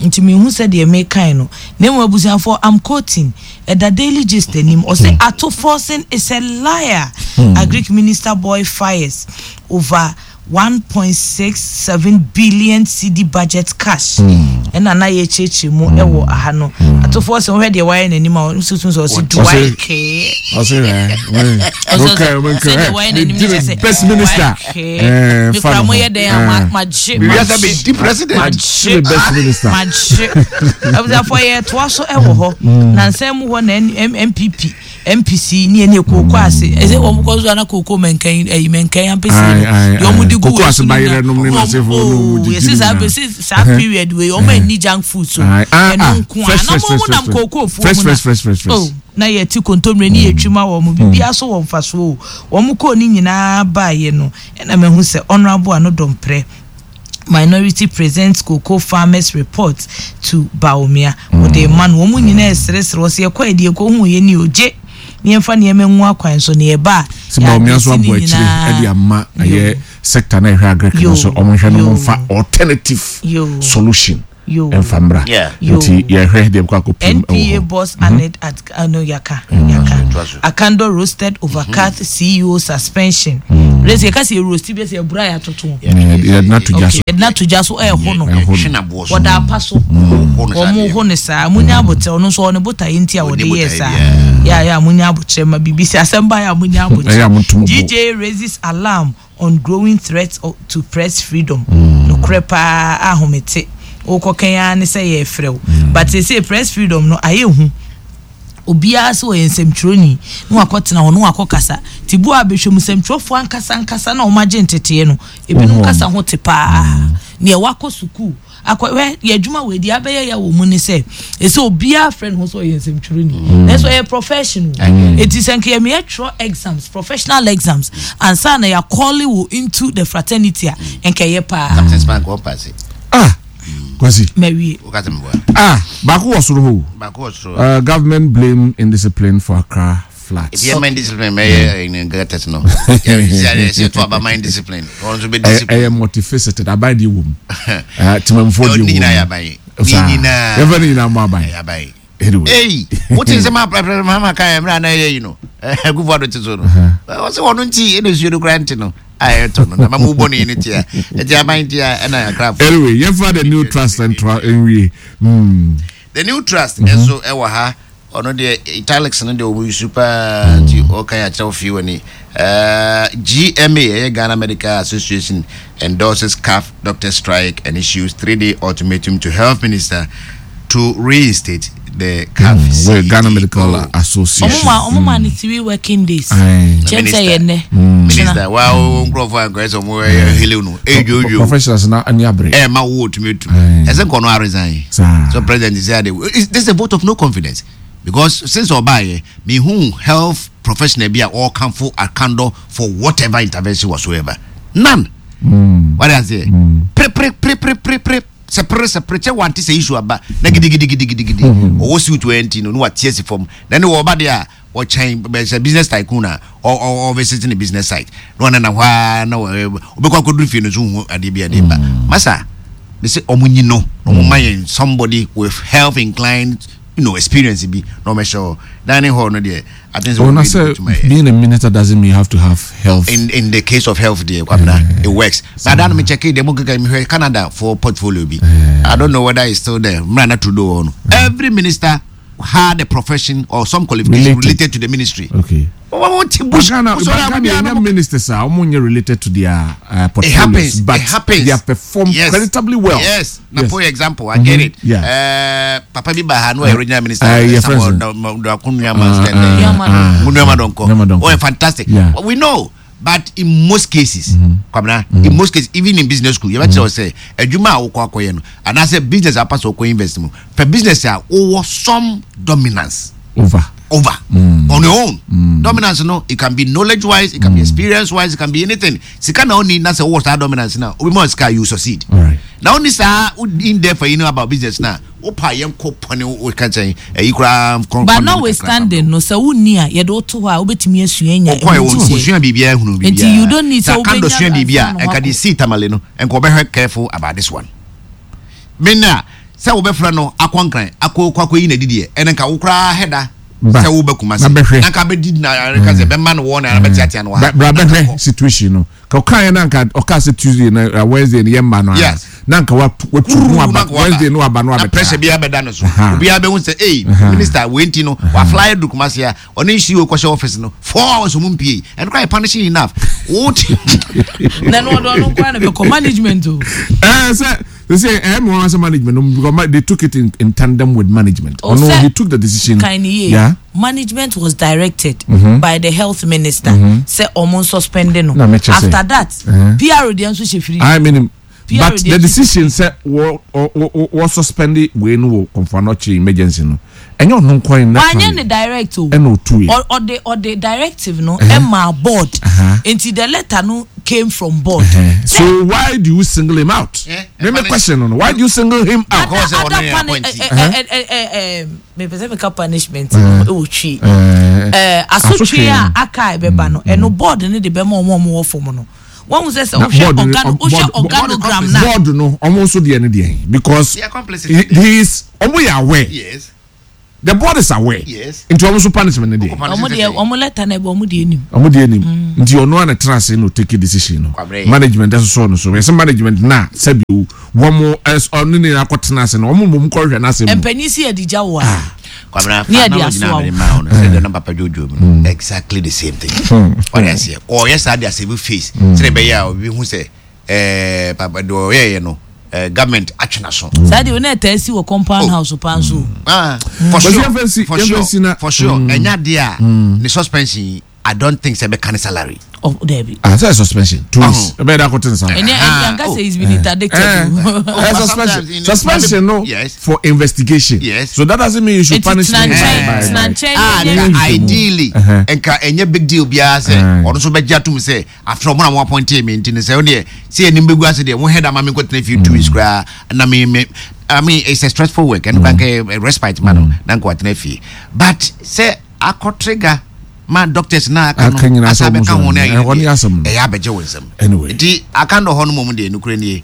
nti mehu sɛ deɛ mekan no na mmom abusuafoɔ, am quoting, ɛda Daily Gist anim, ɔsɛ "Ato Forson is a liar. Agric minister boy fires over one point six seven billion cedi budget cash." Ɛna na yɛkyerɛkyerɛ mu ɛwɔ aha no. Ato Forson, wohwɛ deɛ wayɛ n'anim a, ɔno nso ɔsɛ do I care? Ɔsɛ ɛ ɔkɛ Sɛdeɛ wayɛ n'anim ɔkɛ kyerɛ sɛ best minister. Okay. Mekura mo yɛ dɛn a ma- magye Biribiara bɛdi president. Magye. The best minister. Magye. Abusuafoɔ, yɛtoa so ɛwɔ hɔ na nsɛm mu hɔ na N- M- N P P M P C ne ɛne kooko ase ɛsɛ wɔn kɔ so ana kooko mɛnkɛn ɛyi mɛnkɛn ampesi Aye, aye, deɛ wɔn de aye. gu Kooko wɔ ase esu no bayerɛ nom ne na n'asefoɔ no oh, wɔn gyigyi yɛsi saa nyinaa. bɛsi saa period wei wɔn ani junk food so. Aye, ah, Ɛno ah, nko a fresh, na fresh, wɔn fresh, nam fresh. kooko fuo Fresh, mu na fresh, fresh, fresh, fresh. Oh, na yɛti kontomire ne yɛtwi ma wɔn biribiara so wɔ mfasoɔ o. Wɔn kɔɔ ne nyinaa baeɛ no, ɛna mahu sɛ Honourable Annoh-Dompreh minority presents cocoa farmers report to Bawumia. Wɔde ma no, wɔn nyinaa ɛseresere wɔ sɛ yɛkɔ yɛ deɛ yɛkɔ hu yɛ ni ogye Ne yɛmfa nneɛma ngu akwan so ne yɛba a sɛ Bawumia nso yɛade abɔ ne akyire nyinaa. Ɛde ama ɛyɛ Yo. sector na ɛhwɛ agric no Yo. so ɔmo nhwɛ no Yo. mo nfa alternative Yo. solution Yo. ɛnfa mmra. Yeah. Yo. Nti yɛhwɛ deɛ bɛkɔ akɔ pim N P A ɛwɔ hɔ. boss aned at uh, no, yaka yaka. Toa so. Akandoh roasted over C A T C E O suspension. Resi yɛka sɛ roast bi sɛ ɛbura yɛ atoto. Yɛ- yɛde no ato gya so. Okay, yɛde no ato gya so, ɛɛho no. Ɛho no. Yɛtwe n'aboɔ so. Wɔda apa so. Wɔho no saa Wɔn deɛ. ho ne saa, munya abotire. Ɔno nso ɔne botaeɛ nti a wɔde Ɔne yɛ botaeɛ saa. biara. Yɛ a yɛ a munya abotire ma biribi sɛ asɛm ba yɛ a munya Ɛyɛ a monto mo bo. G J raises alarm on growing threat o- to press freedom. Nokorɛ paa, ahomete wokɔ kɛn ara ne sɛ yɛfrɛ wo, but sɛ press freedom no ayɛ hu. Obiara sɛ ɔyɛ nsɛmtwerɛni na wakɔtena hɔ na wakɔ kasa nti bu a bɛhwɛ mu, nsɛmtwerɛfoɔ ankasa ankasa na ɔmo agye nteteɛ no, ebinom Wɔn. Kasa ho te paa nea wakɔ sukuu akɔ hwɛ yɛ adwuma wɔ edi abɛyɛ yɛ wɔ mu ne sɛ ɛsɛ obiara frɛ ne ho sɛ ɔyɛ nsɛmtwerɛni, nanso ɔyɛ professional. Eti sɛ nka yɛmɛ yɛtwerɛ exams, professional exams, ansa na yɛakɔle wo into the fraternity a, nka ɛyɛ paa. Captain Spank wɔn paase. Ah, Kwasi. Mawie. Wokasa mi bɔ. Ah, baako wɔ soro hɔ o. Baako wɔ soro. Uh, government blame indiscipline for Accra floods. Ebi ɛma indiscipline mɛyɛ ɛɛ gutters no yɛ sɛ sɛ to aba ma indiscipline wɔn nso bɛ ɛyɛ discipline. Ɛyɛ multifaceted. Aban deɛ wɔ mu, Eh, temamfoɔ deɛ Ne wɔ nyinaa yɛ mu. aban ne Saa. nyinaa. Yɛmfa ne nyinaa mmɔ aban. Yɛ aban. Anyway. Ei, wote nsɛm a President Mahama ka yɛ mmerɛ a na ɛyɛ yi no, Akufo Addo te so no, ɔsɛ ɔno nti ɛna nsuo no koraa nte no a ɛtɔ no na ma mobɔ ne yi no tia ɛnti aban tia ɛna akrafo. Anyway, yɛmfa The New Trust ntoa nwie mm. The New Trust ɛnso ɛwɔ ha. Ɔno deɛ italics no deɛ ɔmu yusu paa nti ɔka yɛ akyerɛw fie wɔ ni. G M A, ɛyɛ Ghana Medical Association, endorses C A F doctor strike and issues three-day ultimatum to health minister to reinstate the C A F Mm, well, Ghana C E O. Medical Association. Ɔmo ma ɔmo ma ne three working days. Aye. Kyɛn sɛ yɛ nnɛ. Minister wa wo nkurɔfoɔ ankɔyɛ sɛ ɔmo ɛyɛ helew no ɛdwodwo. Professionals na ani abere. Ɛma wo otumi etu. Aye. Ɛsɛ nkɔ no aresign. Saa. So president say ade this is a vote of no confidence because since ɔbaayɛ mihu health professional bi a ɔrekamfo Akandoh for whatever intervention whatsoever, none. Mm. Wade aseɛ pere pere pere pere pere pere sɛ pere sɛ pere kyɛ wante sɛ issue aba na gidigidigidigidi ɔwɔ suit wɔ nti no na wate asi fam na ne wɔba deɛ a ɔkyɛn bɛ sɛ business tycoon a ɔ ɔ ɔvisit ne business site na ɔnenam hɔ ara na wɔ ɔbɛkɔ akɔduru fie no so hu adeɛ bi adeɛ ba masa de sɛ ɔmo nyi no na ɔmo ma yɛn somebody with health inclined you know experience bi na ɔmo ɛhyɛ hɔ dining hall no deɛ, I think sɛ Oh, na wɔn sɛ bɛtumi ayɛ. being a minister doesn't mean you have to have health. in in the case of health deɛ, Kwabena, it works. But that me check it demo keka me hwɛ Canada for portfolio bi, I don't know whether it's still there. Mra na Trudeau wɔ hɔ no, every minister had a profession or some qualification Related. related to the ministry. Okay. Wɔn ti But bush Ghana, bush but Ghana, ɔyɛ uh, ministers are almost related to their uh, It portfolios, happens, but it happens. they have performed Yes. creditably well. Yes, na Yes. for example, I get it. Yeah. Uh, papa bi ba ha no ɔyɛ regional minister. Uh, yeah, Samuel friends. Nuama. Nuama. Nuama Donko. Nuama Donko. Oh, fantastic. Yeah. Well, we know, but in most cases, Kwabena, in most cases, even in business school, you better say adwuma a wokɔ akɔyɛ no anaasɛ business a pasɛ wokɔ invest mu pɛ business a wowɔ some dominance Over. Over on your own. Dominance no, it can be knowledge wise, it can be experience wise, it can be anything. Sika na oni na sɛ wowɔ saa dominance na obi ma sika, you succeed. All right. Na oni saa wo in there for you know about business na wopa yɛn kɔ pɔne wo ka kyɛn ɛyi koraa kɔn. But notwithstanding no, sɛ wonni a yɛde woto hɔ a wobɛtumi asua nya. Ɔkɔ yɛ ɛmu wɔn ti sɛ- osua biribiara ehunu biribiara. Nti you don't need sɛ sɛ Akandoh wobɛnya sua biribiara ansa na ɛnka de wakɔ. si Tamale no nka ɔbɛhwɛ careful about this one. Mena sɛ wobɛfrɛ no akɔ Nkran akɔ kɔ akɔ yi na didiɛ ɛnɛ nka wo koraa hɛda Ba. sɛ wobɛ Kumasi Na bɛhwɛ. na nka bɛdi na ɛka sɛ bɛma no wɔ na bɛteatea no wɔ ha. Bra Na nka bɛhwɛ kɔ. Situation no ka ɔka yɛ na nka ɔka sɛ Tuesday na uh, Wednesday no yɛ mma no a Yes. na nka watu watu no aba. Na nka waba. Wednesday no aba no Na abɛtra. pressure biara bɛda no so. Aha. Obiara bɛhu sɛ ei, minister wei nti no wafly du Kumasi a ɔne nsuo kɔhyɛ office no four hours ɔmo mpie ɛno koraa yɛ punishing enough wote. Na no ɔdɔ ɔno nkoa na bɛkɔ management o. ɛɛ sɛ they say ɛɛ mo wɔn sɛ management no because ma- they took it in, in tandem with management. Oh, Ɔno sɛ- he took the decision. Kan yie. Yeah. Management was directed by the health minister sɛ ɔmo suspend no. Na mekyɛ sɛ- After that, Uh-huh. P R deɛ nso hyɛ firi. I mean, P R but deɛ the nso- decision sɛ wɔ wɔ wɔ wɔ suspend wei no wɔ Komfo Anokye emergency no, ɛnyɛ ɔno nkwan Wanyɛ ne direct o. Ɛna otu yɛ. Ɔ- ɔde ɔde directive no ɛma board. Uh-huh. Nti the letter no came from board. So why do you single him out? Eh, Me me question no no. Why do you single him out? Because Ada ɔno yɛ puni- appointee. eh, eh, eh, eh, eh, mepɛ sɛ meka punishment no ɛwɔ twi. Eh, Eh, asotwe a asotwe. Aka a ɛbɛba no, ɛno board no de bɛma ɔmo a ɔmo wɔ fam no. Wɔn sɛ sɛ Na wohwɛ board no- organo board- wohwɛ board- organogram na board no, ɔmo nso deɛ ne deɛ, because They are complicit. he he is, ɔmo yɛ aware. Yes. The board is aware. Yes. Nti ɔmo nso punishment ne deɛ? Ɔmo deɛ, ɔmo letter na ɛbɛ, ɔmo deɛ nim. Ɔmo deɛ nim nti ɔno ana tena ase na ɔtake decision no. Kwabre. Management ɛsosɔ no so, yɛsɛ management na sɛbi o, wɔn ɛs ɔno ne akɔ tena ase no, ɔmo mmom kɔhwɛ n'asɛm mu. Mpanyin si yɛ di gya wo a Kwabena, Ne fa yɛde analogy na asoa wo. mede maa wo no, sɛ deɛ na papa dwodwo mu no, exactly the same thing. Ɔde aseɛ ɔyɛ saa de asɛbi face sɛdeɛ ɛbɛyɛ a obi hu sɛ ɛɛ papa deɛ ɔyɛyɛ no, ɛɛ government atwe n'aso. Saa deɛ one ɛtaa si wɔ compound house paa nso. Ah, for But sure, yɛmfa nsi- for yɛmfa sure, nsi na- for sure, ɛnya deɛ a ne suspension yi, I don't think sɛ ɛbɛka ne salary. Ɔ dɛbi. Ah, sɛ suspension two weeks, ɛbɛyɛ dɛ akɔte nsa. Ɛnyɛ Ah, ɛnka oh. sɛ he's been interdicted. Eh, o. eh, But suspension sometimes in- suspension no Yes. for investigation. Yes. So that doesn't mean you should Eti punish me tena by nkyɛn by tena by nkyɛn. Ah, nyɛ- nka nyɛ- ideally Uh-huh. nka ɛnyɛ big deal biara sɛ Aye. ɔno nso bɛgye atom sɛ after ɔmo na mo appoint me, nti no sɛ wodeɛ sɛ yɛnim bɛgu ase deɛ, mo head ama me nkɔtena fie two weeks koraa na me me I mean, it's a stressful work, ɛno kora nka yɛ respite ma no na nka watena fie, but sɛ akɔ trigger ma doctors na aka no Aka nyinaa asa sɛ ɔmo bɛka so ho no, ɛhɔ ayɛ ne deɛ, asɛm no. ɛyɛ abɛgye wo nsɛm. Anyway. Nti aka ndɔ hɔ no mmom deɛ, nokorɛ nie,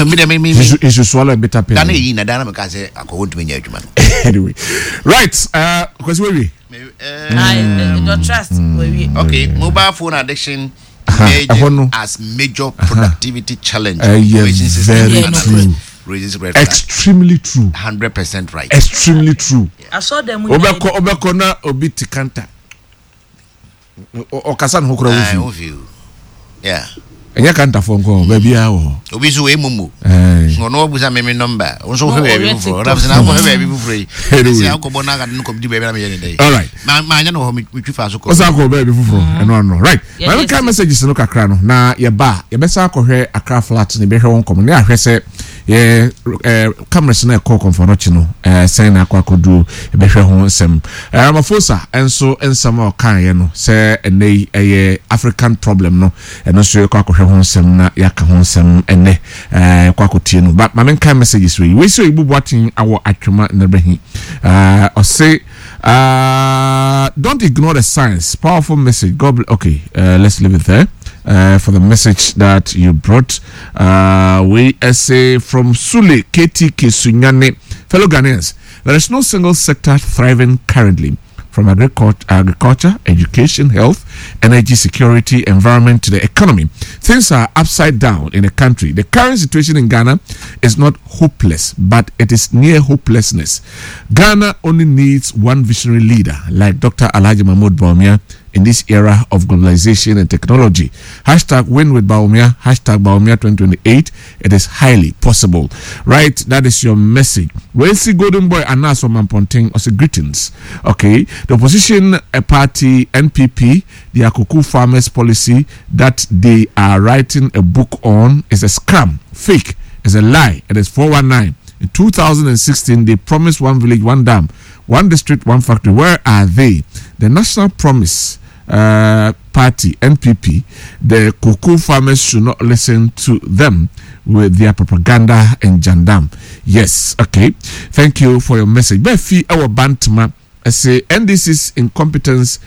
me deɛ me me he me should he should swallow a bitter pill. Da na ɛyi na da na meka sɛ akɔwɔ ntumi nyɛ adwuma no. Anyway, right, uh, Kwesi, wewie. Ah, eh, eh, trust wɔwie. Okay, mobile phone addiction Aha, ɛhɔ no. emerging as major productivity challenge. Ɛyɛ Information system very analyst true. raises red flag. Extremely true. Hundred percent right. Extremely true. Asɔ mu. Wobɛkɔ wobɛkɔ na obi te kanta, Ɔ- ɔkasa ne ho kora. Ah, Wofi wofi o. Yeah. Ɛnyɛ kantafoɔ nkɔ, baabiaa wɔ hɔ. Obi nso wei mumu. Ɛɛ. Ɔno wabusa me me number. Wo nso wohwɛ No, baabi ɔyɛ foforɔ. TikTok. Ɔno sɛ na wokɔhwɛ baabi foforɔ yi. Anyway. Sɛ akɔbɔ na akade no kɔmdi baabi na meyɛ ne dɛn. All right. Ma ma anya no hɔ, me metwi fa so kɔ. Ɔsan kɔ baabi foforɔ, ɛno ano, right? Yeah, Maame yes. ka messages no kakra no na yɛba a, yɛbɛsa akɔhwɛ Accra flat ne bɛhwɛ wɔn nkɔmɔ ne ahwɛ sɛ yɛ ɛɛ cameras no ɛkɔ Komfo Anokye no, ɛɛ sɛn na akɔ akɔduro, yɛbɛhwɛ ho nsɛm. ɛɛ Ramaphosa nso nsɛm a ɔkaeɛ no sɛ ɛnɛ yi ɛyɛ African problem no, ɛno nso yɛkɔ akɔhwɛ ho nsɛm na yɛaka ho nsɛm ɛnɛ. ɛɛ yɛkɔ akɔtie no, but maame nka messages wei wei sɛ oyibu boaten awɔ atwoma nnerbɛhi, ɛɛ ɔse, Uh, don't ignore the signs. Powerful message. God bless. Okay, uh, let's leave it there. Uh, for the message that you brought. Uh, we say from Sule K T K Sunyane, fellow Ghanaians, there is no single sector thriving currently. From agriculture, agriculture, education, health, energy, security, environment to the economy. Things are upside down in the country. The current situation in Ghana is not hopeless, but it is near hopelessness. Ghana only needs one visionary leader like Doctor Alhaji Mahmoud Bawumia in this era of globalization and technology. Hashtag win with Bawumia, hashtag Bawumia twenty twenty-eight. It is highly possible. Right, that is your message. Welsi Golden Boy Anas Mamponting also greetings. Okay, the opposition uh, party N P P, the Akuku farmers policy that they are writing a book on is a scam, fake, is a lie. It is four one nine. In two thousand sixteen, they promised one village, one dam, one district, one factory. Where are they? The National Promise uh, Party, N P P, the cocoa farmers should not listen to them with their propaganda and jandam. Yes, okay. Thank you for your message. Befi our Bantama say N D C's incompetence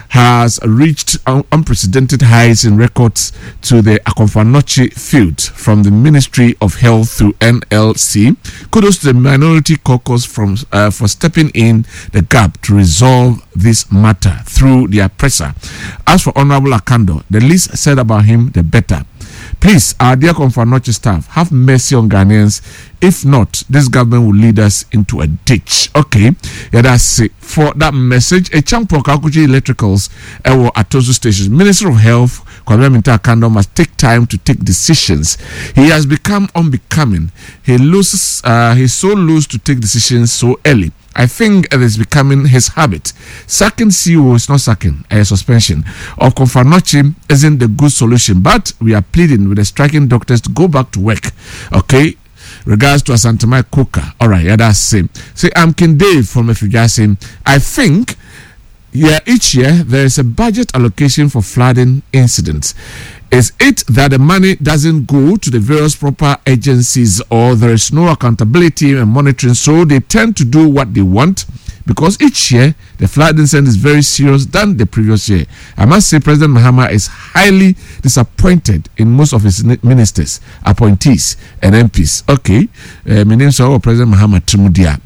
has reached un- unprecedented highs in records to the Akomfo Anokye field from the Ministry of Health through N L C. Kudos to the Minority Caucus from, uh, for stepping in the gap to resolve this matter through their pressure. As for Honorable Akandoh, the least said about him, the better. Please, our dear Komfo Anokye staff, have mercy on Ghanaians. If not, this government will lead us into a ditch. Okay, yeah, that's it for that message. A champion Kakuji Electricals, ɛwɔ Atosu Stations. Minister of Health, Kwabena Mintah Akandoh must take time to take decisions. He has become unbecoming. He loses, uh, he's so loose to take decisions so early. I think it is becoming his habit. Sacking C E O is not sacking, a suspension of Komfo Anokye isn't the good solution, but we are pleading with the striking doctors to go back to work. Okay. Regards to Asantemai Koka. All right, yeah, that's same. Say, I'm King Dave from Efujasi. I think, yeah, each year there is a budget allocation for flooding incidents. Is it that the money doesn't go to the various proper agencies or there is no accountability and monitoring, so they tend to do what they want? Because each year the flood incident is very serious than the previous year. I must say President Mahama is highly disappointed in most of his ministers, appointees, and M Ps. Okay, uh, my name is President Mahama Trimudia.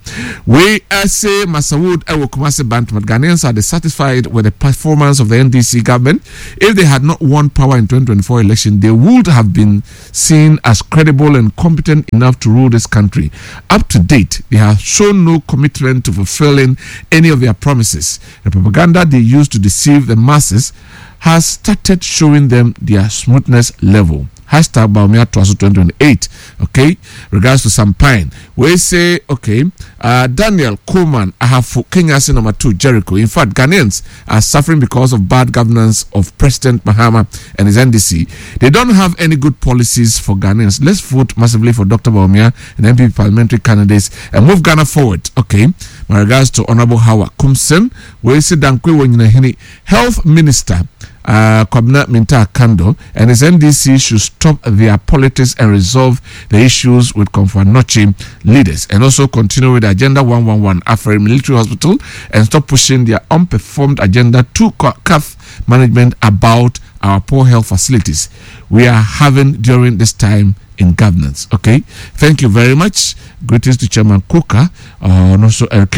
We uh, say Masawood ɛwɔ Kumasi Bantama. Ghanaians are dissatisfied with the performance of the N D C government. If they had not won power in twenty twenty-four election, they would have been seen as credible and competent enough to rule this country. Up to date, they have shown no commitment to fulfilling any of their promises. The propaganda they use to deceive the masses has started showing them their smoothness level. Hashtag Bawumia twenty twenty-eight. Okay. Regards to Sampine. We say, okay, uh, Daniel Coleman, Ahafo, Kenya number two, Jericho. In fact, Ghanaians are suffering because of bad governance of President Mahama and his N D C. They don't have any good policies for Ghanaians. Let's vote massively for Doctor Bawumia and N P P parliamentary candidates and move Ghana forward. Okay. My regards to Honorable Howard Kumsen. We say Dankwe Health Minister uh, Kwabena Mintah Akandoh and his N D C should stop their politics and resolve the issues with Komfo Anokye leaders and also continue with the Agenda one one one Afari Military Hospital and stop pushing their unperformed agenda to C A F management about our poor health facilities we are having during this time in governance. Okay, thank you very much. Greetings to Chairman Koka uh, and also Eric.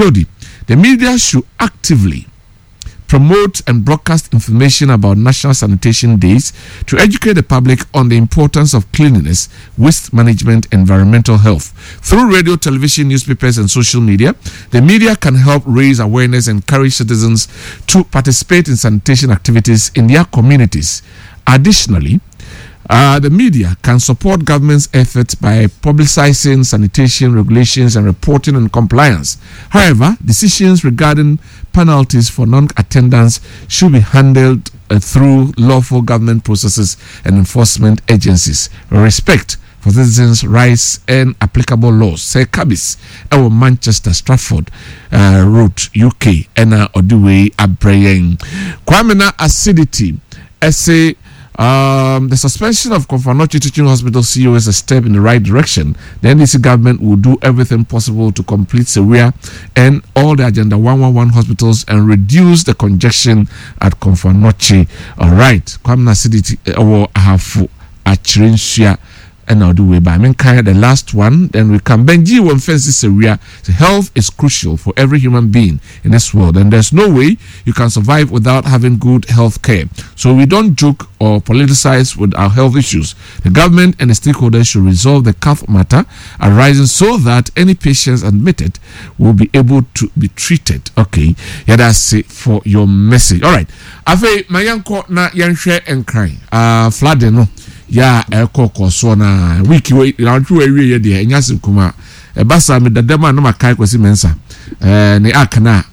The media should actively promote and broadcast information about national sanitation days to educate the public on the importance of cleanliness, waste management, and environmental health. Through radio, television, newspapers, and social media, the media can help raise awareness and encourage citizens to participate in sanitation activities in their communities. Additionally, uh, the media can support government's efforts by publicizing sanitation regulations and reporting on compliance. However, decisions regarding penalties for non-attendance should be handled uh, through lawful government processes and enforcement agencies. Respect for citizens' rights and applicable laws. Sir Kabis, ɛwɔ Manchester Stratford uh, Road, U K, ɛna ɔde wei abrɛ yɛn. Kwame na acidity, ɛsɛ um, the suspension of Komfo Anokye Teaching Hospital C E O is a step in the right direction. The N D C government will do everything possible to complete Sewua and all the Agenda one one one hospitals and reduce the congestion at Komfo Anokye. All right. Kwame Acidity, ɛwɔ Ahafo Akyerɛnsua ɛna ɔde wei ba. Menkae the last one, then we come. Benji wɔ mfɛnsi sewia. So health is crucial for every human being in this world, and there's no way you can survive without having good health care. So we don't joke or politicize with our health issues. The government and the stakeholders should resolve the C A F matter arising so that any patients admitted will be able to be treated. Okay, yeah, that's it for your message. All right, afei ma yɛnkɔ na yɛnhwɛ Nkran uh, flooding no yɛ a ɛkɔ kɔ soɔ na week wei nawɔtwe wɔ awie yɛ deɛ ɛnya asɛm kuma ɛba saa mi dadam a na ma kae Kwasi Mɛnsa ɛɛ ne akana a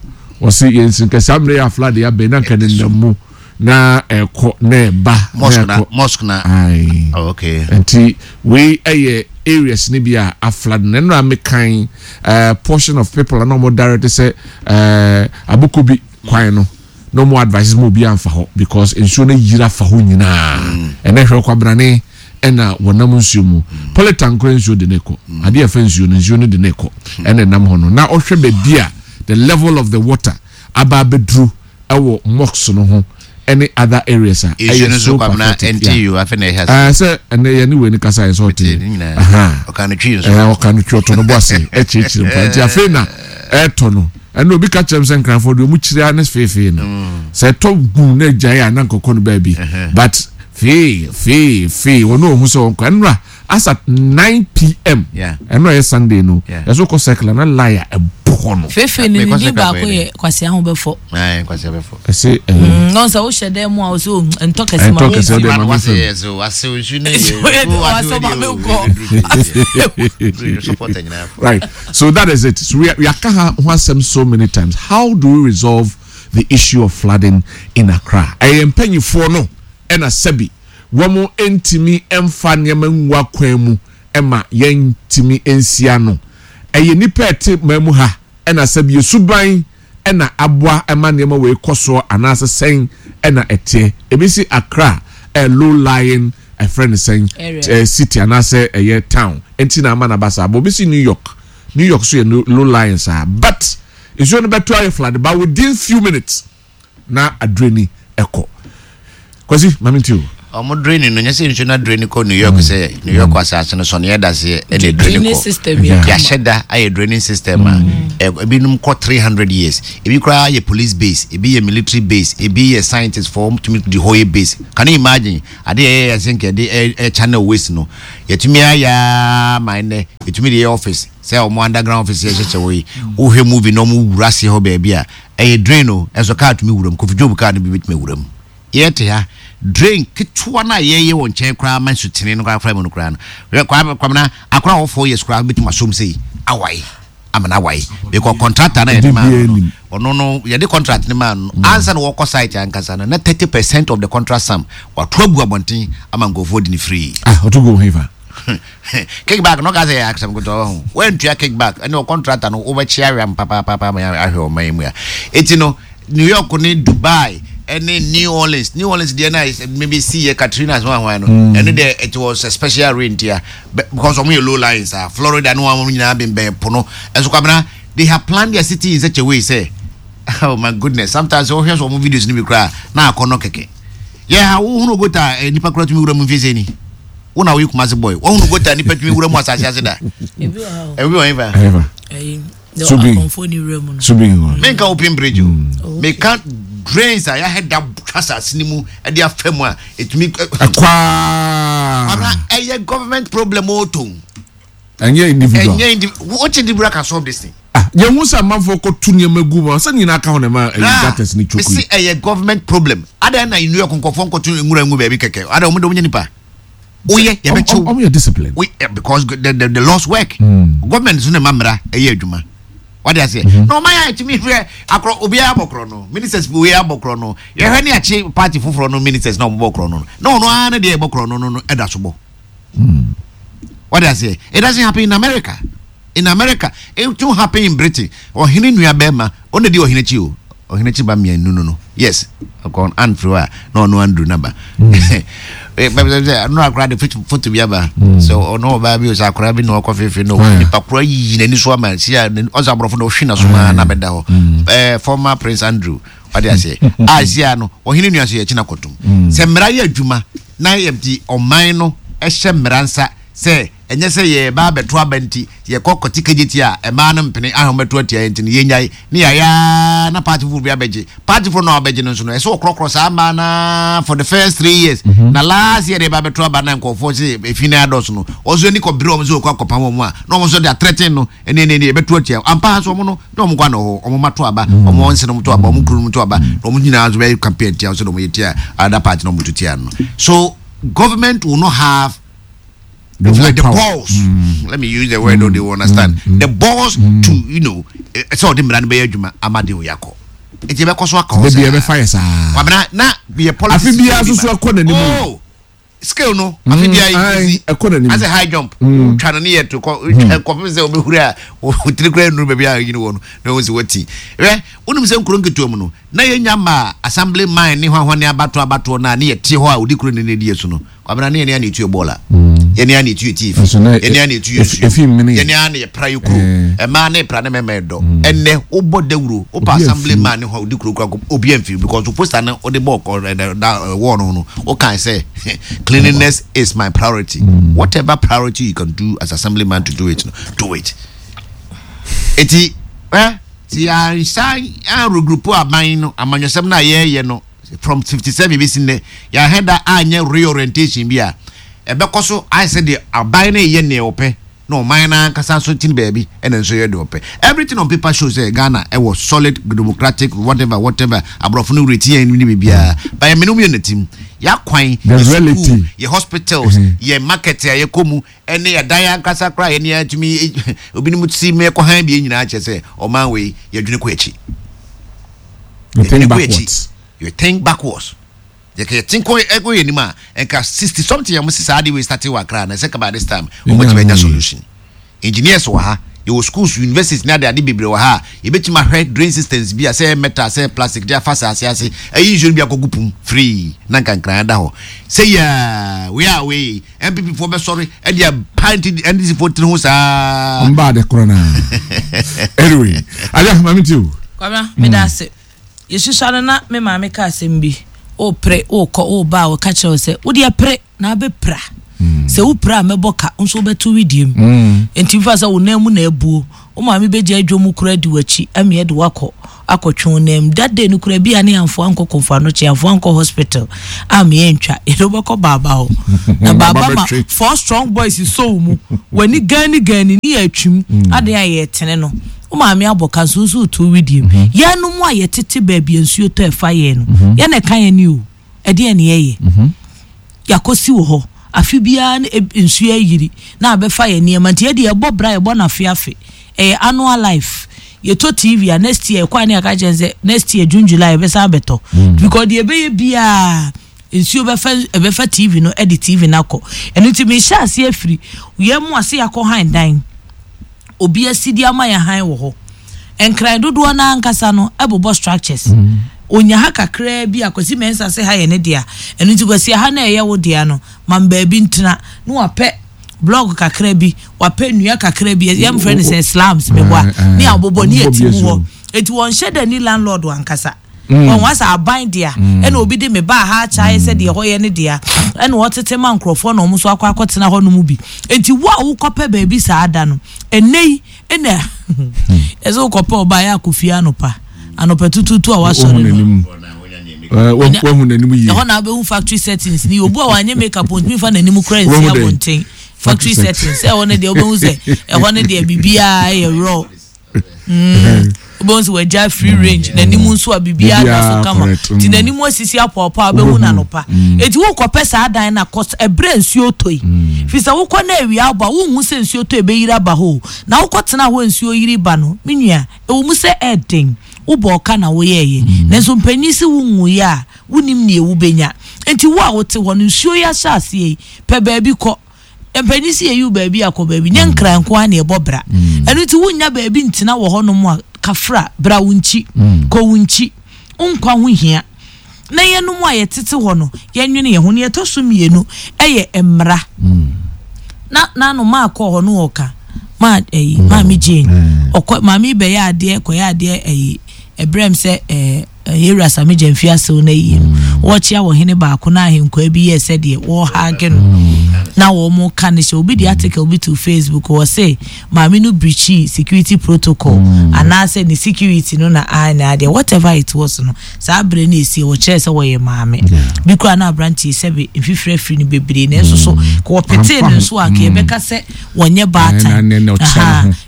wɔsi yɛn nsi nkɛse amuna yɛ flood yɛ abɛn na nka ne nam mu na ɛkɔ na ɛba mosque na mosque na. Ayi. Oh, okay. Nti wei ɛyɛ areas ne bi a aflood na nnura mekan ɛɛ portion of people a na wɔn direct sɛ ɛɛ Abokobi kwan no na wɔn advice mo obi anfa hɔ because nsuo no yiri afa hɔ nyinaa. Ɛnɛ hwɛ kwabrane ɛna wɔnam nsuo mu polytank kora nsuo de ne kɔ adeɛ ɛfɛ nsuo no nsuo no de ne kɔ ɛna ɛnam hɔ no na ɔhwɛ baabi a the level of the water aba abɛduru ɛwɔ mosque no ho ɛne other areas a nsuo no so so Kwamina pathetic, yeah. N T U afei na ɛhyɛ ase. Ah, sɛ ɛnɛ yɛ ne wei ne kasa yɛ sɛ ɔte ne nyinaa. Aha. Ɔka no twi nso. Ɛɛ, ɔka no twi, ɔtɔ no bɔ ase ɛkyerɛkyerɛ mpa nti afei na ɛɛtɔ no ɛna obi ka kyerɛ m sɛ Nkranfoɔ deɛ ɔmu kyerɛ ne feefee no sɛ ɛtɔ gu na agyae a na nkɔkɔ no baabi, but fee fee fee wɔn ohun sɛ wɔn kɔ ɛnura asa nine P M Yeah. ɛnura yɛ Sunday no Yeah. ɛso kɔ circle na line a ɛbɔ hɔ no. Fefe ne Mekɔ ne din sɛ baako kakra yɛ Kwasi aho bɛfɔ. Ayi, Kwasi abɛfo. Ɛsɛ ɛɛ Nɔn sɛ wohyɛ dan mu a wosɛ oh, ntɔ kɛse ma Ɛntɔ wo kɛse, nsi. ɔde ma me Wase fam. yɛ so wase nsu ne Nsuo yɛ de, wase ma me nkɔ. Supporter nyinaa fo. Right. So that is it. So we we are ho asɛm so many times. How do we resolve the issue of flooding in Accra? Ɛyɛ mpanyinfoɔ no ɛna sɛbi wɔn ntumi mfa nneɛma ngu akwan mu ɛma yɛntumi nsia no. Ɛyɛ nipa ɛte man mu ha ɛna sɛbi esuban ɛna aboa ɛma nneɛma wɔ ekɔ soɔ anaasɛ sɛn ɛna ɛteɛ ebi si Accra. ɛ low lying ɛfrɛ ne sɛn ɛ city anaasɛ ɛyɛ town nti na ama na ba saa. But obi si New York, New York so yɛ low lying saa, but nsuo no bɛto ayɛ flood, but within few minutes na adrain ɛkɔ. Kwasi, maame nti o. Ɔmo drain no nyɛ sɛ nsuo na drain kɔ New York, sɛ New York asase no sɔne ɛda seɛ ɛna drain kɔ. Yɛahyɛ da ayɛ draining system a ebinom kɔ three hundred years. Ebi koraa yɛ police base, ebi yɛ military base, ebi yɛ scientist for tumi di hɔ yɛ base. Can you imagine ade yɛ yɛ sɛ nkɛ de ɛ channel waste no yɛtumi ayɛ ama ɛnɛ yɛtumi de yɛ office sɛ ɔmo underground office yɛ hyehyɛ wɔ yi? Wohwɛ movie na ɔmo wura ase hɔ baabi a ɛyɛ drain o, ɛnso kaa tumi wura mu. Kofi Job kaa no bi bɛtumi wura mu. Yɛte ha, drain ketewa no a yɛyɛ wɔ nkyɛn koraa ma nsutene no koraa fra mu no koraa no, Kwamina, akora wɔ four years koraa bɛtumi asom sɛ awae ama no awae, because contractor no yɛde maa no, ɔno no yɛde contract no maa no ansa na wɔkɔ site ankasa no na thirty percent of the contract sum wato agu abɔnten ama nkurɔfoɔ di ne free. Ah, ɔto gu hefa? Kickback no ka sɛ yɛ asɛm ketewa ho. Wantua kickback ɛne ɔ contractor no, wobɛkye awɛm papaapapa ma ahwɛ ɔman yi mu a. Eti no New York ne Dubai ɛne New Orleans, New Orleans deɛ na maybe see yɛ Katrina so ahwan no, ɛno deɛ it was a special rain tia because ɔmo yɛ low lines a Florida no wɔn nyinaa bɛnbɛn po no. Ɛso Kwabena, they have planned their city in such a way sɛ, oh my goodness, sometimes wɔhwɛ so ɔmo videos no bi koraa na akɔ no kɛkɛ yɛ ha. Wohunu gutter eh, nipa koraa tumi wura mu mfie sɛ ni wo na woyɛ Kumase boy, wohunu gutter nipa tumi wura mu asase ase da? Ebi wɔ ha o. Ebi wɔ hefa? Subi subi. Menka open bridge o, meka drains a yɛahɛ da twa asase no mu de afa mu a ɛtumi ɛkwaa. Ana ɛyɛ government problem o to. Ɛnyɛ individual. Ɛnyɛ individual. What individual can solve this thing? Ah, yɛn ho sɛ amanfoɔ kɔtu nneɛma gu mu a sɛ nyinaa ka ho na ɛma ɛyɛ gutters ne choke. Mesi ɛyɛ government problem. Adan na New York nkɔfoɔ nkɔtu nwura ngu baabi kɛkɛ? Adan wɔn de wɔn nyɛ nipa woyɛ yɛbɛkyew. Ɔmo yɛ discipline. We, eh, because the the the laws work. mm. Government nso na ɛma mmara ɛyɛ adwuma wade aseɛ mm-hmm. Na ɔman yɛ atumi hwɛ akorɔ, obiara abɔ korɔ no, ministers bi obiara abɔ korɔ no, yɛhwɛ ne akye party foforɔ no ministers na ɔmo bɔ korɔ no, na ɔno ara ne deɛ ɛbɔ korɔ no no no ɛda so bɔ wade aseɛ. It doesn't happen in America. In America it don't happen. In Britain, ɔhene nua bɛrima ɔna di ɔhene akyi o, ɔhene akyi ba mmienu no no yes, ɔkɔ anfiri hɔ a na ɔno Andrew naba sɛ ɔno akora de foto bi aba sɛ ɔno ɔbaa bi o sɛ akora bi na ɔkɔ fefe no, nipa kora yiyi n'ani so ama si a ɔsɛ aborɔfo na ɔhwe n'aso maa na bɛda hɔ. ɛɛ former Prince Andrew ɔde aseɛ a si a no ɔhene nua so yɛ akyi na kɔtum sɛ mmara yɛ adwuma na yɛ ɔman no ɛhyɛ mmara nsa sɛ ɛnyɛ sɛ yɛba abɛto aba nti yɛkɔ kɔte kagye ti a ɛmaa no mpene ahom bɛto atia yɛn nti no yɛnyae ne yɛayɛ na party foforɔ bi abɛgye. Party foforɔ na ɔbɛgye no nso no, ɛsɛ wɔkorɔkorɔ saa mmaa na for the first three years, mm -hmm. na last year de ba abɛto aba na nkɔfoɔ sɛ efi na adɔso no, ɔnso ani kɔbere wɔn sɛ wɔkɔ akɔpam wɔn a na wɔn nso de atrɛten no ɛne ɛne ɛne yɛbɛto atia ampa. So wɔn no na wɔn kɔ ana hɔ, wɔn ma to aba, wɔn nse no to aba, wɔn kuro no to aba, na wɔn nyinaa nso bɛyɛ campaign tia sɛ wɔn yɛ tia other party na wɔn to tia no. So government will not have the, like the balls. Mm. Let me use the word, mm. they will understand. Mm. The balls mm. to, you know, sɛ ɔde mmara no bɛyɛ adwuma ama de oyɛ akɔ. Nti ɛbɛkɔ so aka hɔ saa. Beebi ɛbɛfa yɛ saa. Kwabena na yɛ politics. Afi biara soso ɛkɔ n'anim. Oh, scale no. Afi biara yi ɛkɔ n'anim. Asɛ high jump. Twa no ne yɛ to kɔ kɔpem sɛ ɔbɛhuri a otiri kura nnuru baabi a yini wɔ no na wɔn si wɔti. Hwɛ, wonim sɛ nkuro nketewa mu no na yɛnya ma assembly man ne hwahwa ne abatoɔ abatoɔ na ne yɛ te hɔ a odi kuro ne ne di so no, Kwabena, ne yɛne ana etu bɔɔla, yɛne ana etu etiifi, yɛne ana etu nsuo, yɛne ana yɛpra yɛ kuro, mmaa ne pra ne mɛmɛ dɔ. Ɛnɛ wobɔ dawuro wopɛ assembly man ne hɔ a odi kuro kura, obi amfi because o poster no wode bɔɔ kɔ ɛdɛ da wɔɔ no no, wokan sɛ "Cleanliness is my priority." Whatever priority you can do as assembly man to do it no, do it. Eti ɛ ti ansa anregroup aban no amanyɔsɛm no a yɛreyɛ no from fifty seven bi si nnɛ, yɛahɛ da anyɛ reorientation bi a ɛbɛkɔ so ayɛ sɛ deɛ aban no yɛ nea ɔpɛ na ɔman no ankasa nso ti baabi ɛna nso yɛ deɛ ɔpɛ. Everything on paper shows sɛ Ghana ɛwɔ solid democratic whatever whatever, aborɔfo no reti yɛn ne biribiara, but yɛn mene mu yɛ n'atim yɛakwan, yɛ school, yɛ hospitals, yɛ market a yɛkɔ mu ɛne yɛdan ankasa koraa yɛne yɛatumi obinom si mɛkɔ han bie nyinaa kyerɛ sɛ ɔman wei yɛdwene kɔ akyi. You think backwards. You think backwards. Yɛkɛ yɛte nkɔ ɛkɔ yɛ anim a nka sixty something a mo si saa de wei start wɔ Accra na ɛsɛ kaba this time wɔn ti bɛ nya solution. Engineers wɔ ha, Yɛwɔ schools, universities ne ade ade bebree wɔ ha a yɛbɛtumi ahwɛ drain systems bi a sɛ metal, sɛ plastic, de afa asase ase ɛyi nsuo no bi akɔgu pum free na nkankran da hɔ sɛ yɛ wei a wei N P P foɔ bɛsɔre ɛde apa N D C foɔ tiri ho saa. Ɔmba ade korɔ naa. Anyway, aja maame ti o. Kwabena, meda ase. Yɛsusua no na me maame ka asɛm bi: wopere wokɔ woba a, wɔka kyerɛ wo sɛ wodeɛ pere na wobɛpira. Sɛ wopira a, mɛbɔ ka nso wobɛto widie mu. Nti mfa sɛ wo nan mu na abuo, wo maame bɛgya adwa mu kora di w'akyi ameɛ de wakɔ akɔtwe wo nan mu. That day no kora bi a ne yɛamfoa nkɔ Kɔmfo Anokye, yɛamfoa nkɔ hospital a meɛ ntwa, yɛde wobɛkɔ baaba hɔ na baaba ma four strong boys so wo mu, w'ani gani gani ne yɛ atwim adeɛ a yɛtene no, wo maame abɔ ka nso nso to widie mu. Yɛnom a yɛtete baabi a nsuo tɔ ɛfa yɛn no, yɛn ɛka yɛn ni o. Ɛdeɛ ne yɛyɛ yɛakɔsi wɔ hɔ afe biara ne eb- nsuo ayiri na abɛfa yɛn nneɛma. Nti yɛde yɛbɔ bra, yɛbɔ no afe afe, ɛyɛ annual life. Yɛtɔ T V a, next year ɛkɔ a ne yɛka kyerɛ sɛ next year June, July yɛbɛsan abɛtɔ, because deɛ ɛbɛyɛ biara nsuo bɛfa, ɛbɛfa T V no, ɛde T V no akɔ. Ɛno nti mehyɛ aseɛ afiri yɛn mu ase yɛakɔ han dan obi asi de ama yɛn han wɔ hɔ. Nkran dodoɔ no ankasa no ɛbobɔ structures onya ha kakraa bi a Kwasi Mɛnsa sɛ ha yɛ ne dea. Ɛno nti Kwasi, ha na ɛyɛ wo dea no, ma baabi ntena na wapɛ block kakra bi, wapɛ nnua kakra bi, yɛmfrɛ no sɛ slums meboa ne abobɔ ne yɛti mu hɔ. Eti wɔnhyɛ da ni landlord ankasa wɔn wasa aban dea, ɛna obi de me ba ha akyɛ sɛ deɛ hɔ yɛ ne dea, ɛna wɔtete ma nkurɔfoɔ na wɔn nso akɔ akɔtena hɔ nom bi. Eti wo a wokɔpɛ baabi saa da no, ɛnɛ yi ɛna ɛsɛ wokɔpɛ ɔbaa yɛ akɔ fie anɔpa anɔpa tututu a wasɔre no, wahu n'anim yie. Ɛhɔ na wobɛhu factory settings ni. Obu a wanyɛ makeup ntumi fa n'anim kora nsi abɔnten. Factory settings, ɛhɔ no deɛ wobɛhu sɛ ɛhɔ no deɛ biribiara yɛ raw. Wobɛhu sɛ wagya free range, n'anim nso a biribiara da so kama, nti n'anim asisi apɔapɔ a wobɛhu n'anɔpa. Eti wokɔpɛ saa dan na kɔ ɛbrɛ nsuo tɔ yi, fi sɛ wokɔ na awia abɔ a, wonhu sɛ nsuo tɔ ebɛyiri aba hɔ. Na wokɔ tena hɔ nsuo yiri ba no, me nua, ɛwɔ mu sɛ ɛɛden wobɔ ɔka na woyɛɛyɛ, nanso mpanyin si wo nwuyɛ a wonim nea wobɛnya. Nti wo a wote hɔ no, nsuo yi ahyɛ aseɛ yi, pɛ baabi kɔ. Mpanyin si yɛyi wo baabi akɔ baabi nyɛ nkran nko ara na ɛbɔ bra. Ɛno nti wonya baabi ntena wɔ hɔnom a, kafra bra wo nkyi, kɔ wo nkyi, nkwa ho hia na yɛnom a yɛtete hɔ no, yɛnwene yɛn ho. Ne yɛtɔ so mmienu ɛyɛ mmara na nano maa kɔɔ hɔ no, ɔka maa ɛyi Maame Jane ɔkɔ, maame bɛyɛ adeɛ kɔyɛ adeɛ ɛyi ɛbrɛm sɛ ɛɛ yɛwura Sami Gyamfi asew no ayie no, wɔkyea wɔ hene baako na ahenkwaa bi yɛ sɛdeɛ wɔhaage no na wɔn ka ne hyɛ. Obi de article bi to Facebook, wɔ se maame no breachi security protocol anaasɛ ne security no na a na adeɛ, whatever it was no, saa abere no esi wɔkyerɛ sɛ wɔyɛ maame bi koraa na aberanteɛ sɛbi mfifiri afiri no bebree, na nso so wɔpetee no nso a nka yɛbɛka sɛ wɔnyɛ baatan,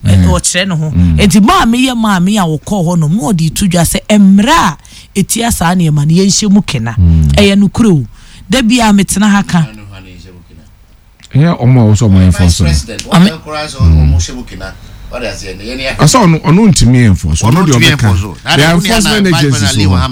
ɔkyerɛ ne ho. Nti maame yɛ maame a wɔkɔɔ hɔ nom na ɔde to dwa sɛ mmerɛ a etia saa nneɛma no, yɛnhyɛ mu kena. Ɛyɛ nokorɛ o, da bi a metena ha ka. Ɛyɛ ɔmo a wɔsɔ ɔmo enforce no. Ɔsɛ ɔno ɔno ntumi enforce, ɔno deɛ ɔbɛka the enforcement agencies wɔ hɔ.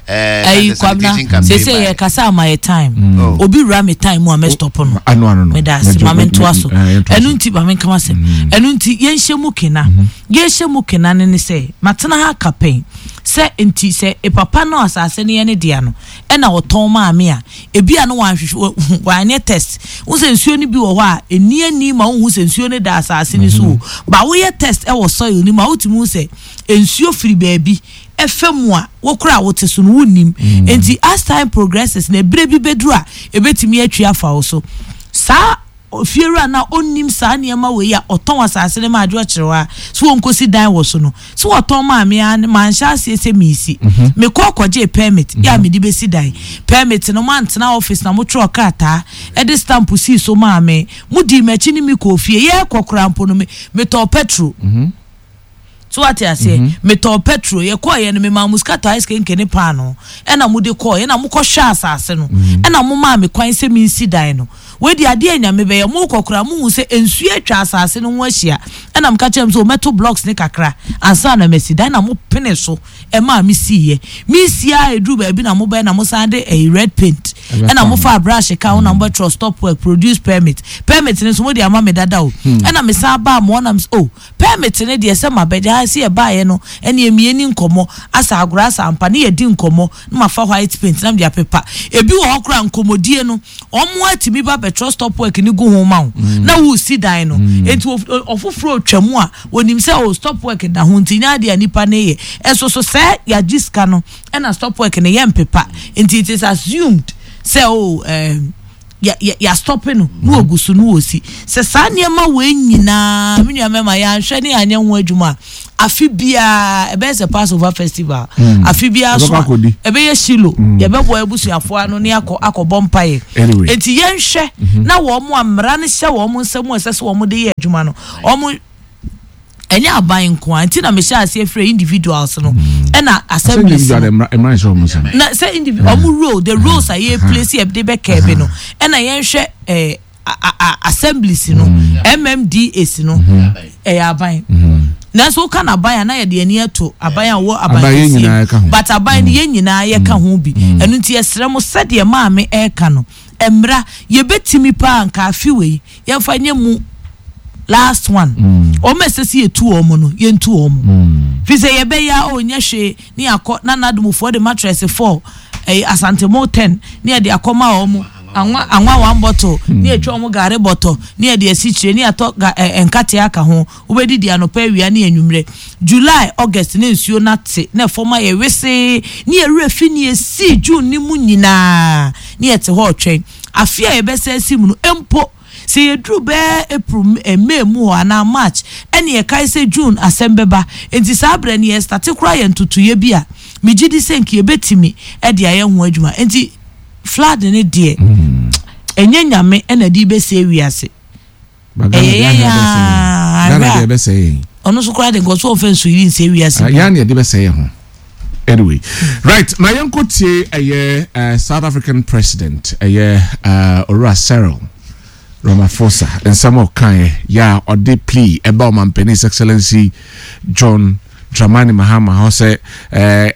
Ɛyi Kwabena, sese yɛ kasa ama yɛ time. Obi wura mi time mu a, mɛ stop no. Ano ano no. Mɛ da ase, maame ntoa so. Ɛnu nti maame nkama sɛm. Ɛnu nti yɛnhyɛ mu kena, yɛnhyɛ mu kena ne ne sɛ matena ha kapɛn sɛ nti sɛ papa no asase no yɛ ne dea no, ɛna ɔtɔn maame a ebi a no wanhwehwɛ, wanyɛ test n sɛ nsuo no bi wɔ hɔ a eni ani ma wohu sɛ nsuo no da asase no so o, ba woyɛ test ɛwɔ soil no mu a, wotumi hu sɛ nsuo firi baabi ɛfɛ mu a wokora a wote so no wonnim. Nti as time progresses na ebere bi bɛduru a, ebetumi atwi afa wo so. Saa fiewura na ɔnnim saa nneɛma wei a ɔtɔn asase no ma adwo ɔkyerɛ a so wɔnkosi dan wɔ so no so wɔtɔn maame a manhyɛ aseɛ sɛ miisi mekɔ kɔgye permit yɛ a mede bɛsi dan. Permit no, mantena office na motwerɛ krataa ɛde stamp sii so maame. Modi m'akyi ne mi kɔɔ fie, yɛkɔ kora mpo no, metɔɔ petrol so, wate aseɛ? Metɔɔ petrol, yɛkɔɔ yɛ no, memaa mo sika tɔ ice kenke ne paano, ɛna mode kɔɔ ɛna mokɔhwɛ asase no, ɛna momaa me kwan sɛ mensi dan no. Wedi adeɛ Nyame bɛyɛ, mokɔ kora mohu sɛ nsuo atwa asase no ho ahyia, ɛna meka kyerɛ m sɛ wɔmɛto blocks ne kakra ansa na masi dan, na mopene so. Ɛma mi si yɛ mi si a eduru baabi na mo bɛyɛ na mo san de ɛyi red paint ɛna mo fa brush ka ho na mo bɛtwerɛ "stop work, produce permit". Permit ne nso mo de ama mi dada o. Ɛna mi san ba mo ɔnam o permit ne deɛ sɛ ma bɛgye ha si ɛbaayɛ no, ɛne emie ni nkɔmɔ asa agorɔ asa ampa ne yɛ di nkɔmɔ na ma fa white paint na ma de apepa. Ebi wɔ hɔ koraa, nkɔmɔdie no, wɔn atumi ba bɛtwerɛ "stop work" ne gu ho ma wo na wo si dan no. Eti ɔfoforɔ otwa mu a, onim sɛ o stop work da ho, nti nya adeɛ a nipa ne yɛ. Ɛso so sɛ yagye sika no, ɛna stop work ne yɛ mpepa, nti it is assumed sɛ o ɛɛm yɛ yɛ yɛ stop no na ogu so na osi. Sɛ saa nneɛma wei nyinaa, me nua mɛma yɛanhwɛ ne yɛanyɛ ho adwuma a, afe biara ɛbɛyɛ sɛ Passover festival. Afe biara so a, ɛbɛyɛ Shilo, yɛbɛbɔ abusuafoɔ ano ne akɔ akɔbɔ mpaeɛ. Eti yɛnhwɛ na wɔn a mmara no hyɛ wɔn nsam a ɛsɛ sɛ wɔn de yɛ adwuma no, wɔn ɛnyɛ aban nko a. Nti na mehyɛ aseɛ frɛ individuals no ɛna assemblies no na sɛ individual ɔmo role, the roles a yɛ play si yɛde bɛ kɛɛbe no, ɛna yɛnhwɛ ɛɛ assemblies no, M M D As no, ɛyɛ aban. Nanso woka na aban a, na yɛde ani ato aban a wɔ aban kɛseɛ, but aban no, yɛn nyinaa yɛka ho bi. Ɛno nti yɛsrɛ mo, sɛdeɛ maame ɛɛka no, mmra yɛbɛtumi paa nka afi wei yɛmfa nyɛ mu last one. Wɔn a ɛsɛ sɛ yɛtu wɔn no, yɛntu wɔn, fi sɛ yɛbɛyɛ a ɔnyɛ hwee ne akɔ na n'adomufoɔ de mattress four, ɛyɛ Asantemo ten, ne yɛde akɔma wɔn, anwa anwa one bottle, ne yɛtwa wɔn gari bɔtɔ, ne yɛde asikyire, ne yɛatɔ ga ɛ nkate aka ho. Wobɛdidi anɔpa, awia ne anwummerɛ. July, August ne nsuo nate na ɛfɔm ayɛ wesee ne yɛwerɛ fi ne yɛsii June ne mu nyinaa ne yɛte hɔ ɔtwɛn afe a yɛbɛsɛ asi mu no mpo. Sɛ yɛduru bɛɛ April, May mu hɔ anaa March, ɛne yɛkae sɛ June asɛm bɛba. Nti saa berɛ no yɛ start koraa yɛ ntotoyɛ bi a megye di sɛ nka yɛbɛtumi ɛde ayɛ ho adwuma. Nti flood ne deɛ, ɛnyɛ Nyame ɛna de bɛsɛ wiase, ɛyɛ yɛn aa. Ɔno nso koraa de nkɔ so ɔmfa nsuyiri nsɛ wiase. Yɛn ne yɛde bɛsɛ yɛn ho. Anyway, right, ma yɛnkɔ tie ɛyɛ uh, South African president, ɛyɛ uh, owura Cyril Ramaphosa, nsɛm a ɔkaeɛ yɛ a ɔde plea ɛba ɔmampanin His Excellency John Dramani Mahama hɔ sɛ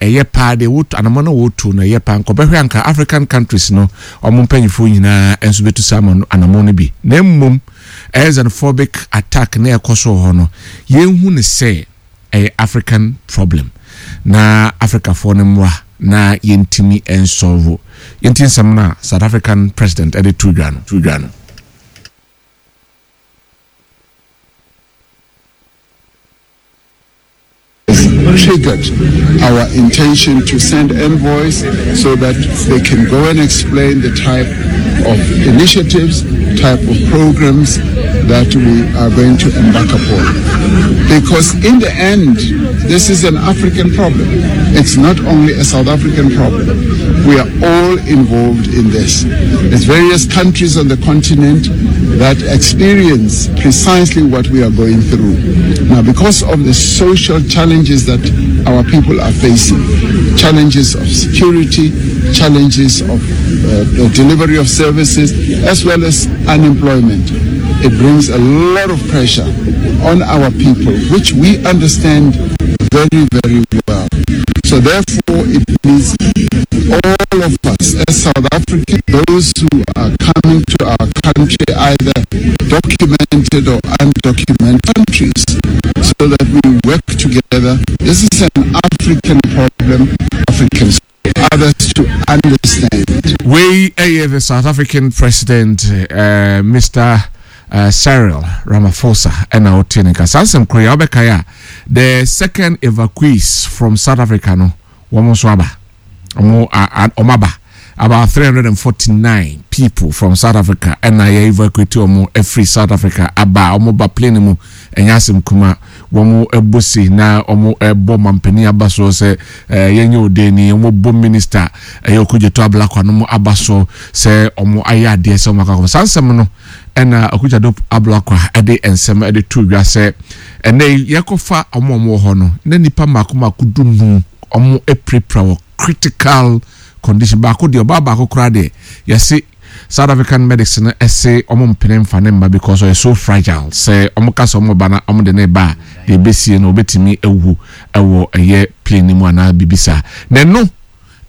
ɛyɛ paa deɛ wotu anamɔ no, wɔtu no ɛyɛ paa nkɔbɛhwɛ anka African countries no ɔmo mpanyinfoɔ nyinaa nso bɛtu saa anamɔ no bi. Na mmom ɛyɛ xenophobic attack na ɛkɔ so wɔ hɔ no, yɛnhu ne sɛ ɛyɛ African problem na Africafoɔ no mmra na yɛntumi nsolve. Yɛnti nsɛm no a South African president ɛde to dwa no to dwa no. Triggered our intention to send envoys so that they can go and explain the type of initiatives, type of programs that we are going to embark upon. Because in the end, this is an African problem. It's not only a South African problem. We are all involved in this. There's various countries on the continent that experience precisely what we are going through. Now, because of the social challenges that our people are facing, challenges of security, challenges of uh, the delivery of services, as well as unemployment, it brings a lot of pressure on our people, which we understand very, very well. So therefore, it needs all of us as South Africans, those who are coming to our country, either documented or undocumented countries, so that we work together. This is an African problem, Africans, others to understand. Wei ɛyɛ the South African president, uh, Mister Uh, Cyril Ramaphosa, ɛna ɔte ne nka saa nsɛm koro yi a wobɛkae a, the second evacuees from South Africa no, wɔn nso aba, wɔn wɔn aba, about three hundred and forty nine people from South Africa ɛna yɛ evacuate wɔn afiri South Africa aba. Wɔn ba plane mu, ɛnyɛ asɛm kuma. Wɔn ɛbɔ si na wɔn ɛbɔ mampanin aba so sɛ ɛɛ yɛnyɛ odeni. Wɔn bɔ minister ɛyɛ Okudzeto Ablakwa no aba so sɛ wɔn ayɛ adeɛ sɛ wɔn akɔ akɔ saa nsɛm no. Ɛna Okudzeto Ablakwa ɛde nsɛm ɛde to dwa sɛ ɛnɛ yi yɛkɔfa wɔn a wɔwɔ hɔ no na nipa mako mako du num wɔn apirapira wɔ critical condition. Baako deɛ, ɔbaa baako koraa deɛ, yɛsi South African medics no ɛsɛ ɔmo mpene mfa ne mma because ɔyɛ so fragile sɛ ɔmo ka sɛ ɔmo ba na ɔmo de ne ba a, deɛ ebesie no obetumi ewu ɛwɔ ɛyɛ plane ne mu anaa bibi saa. Na ɛno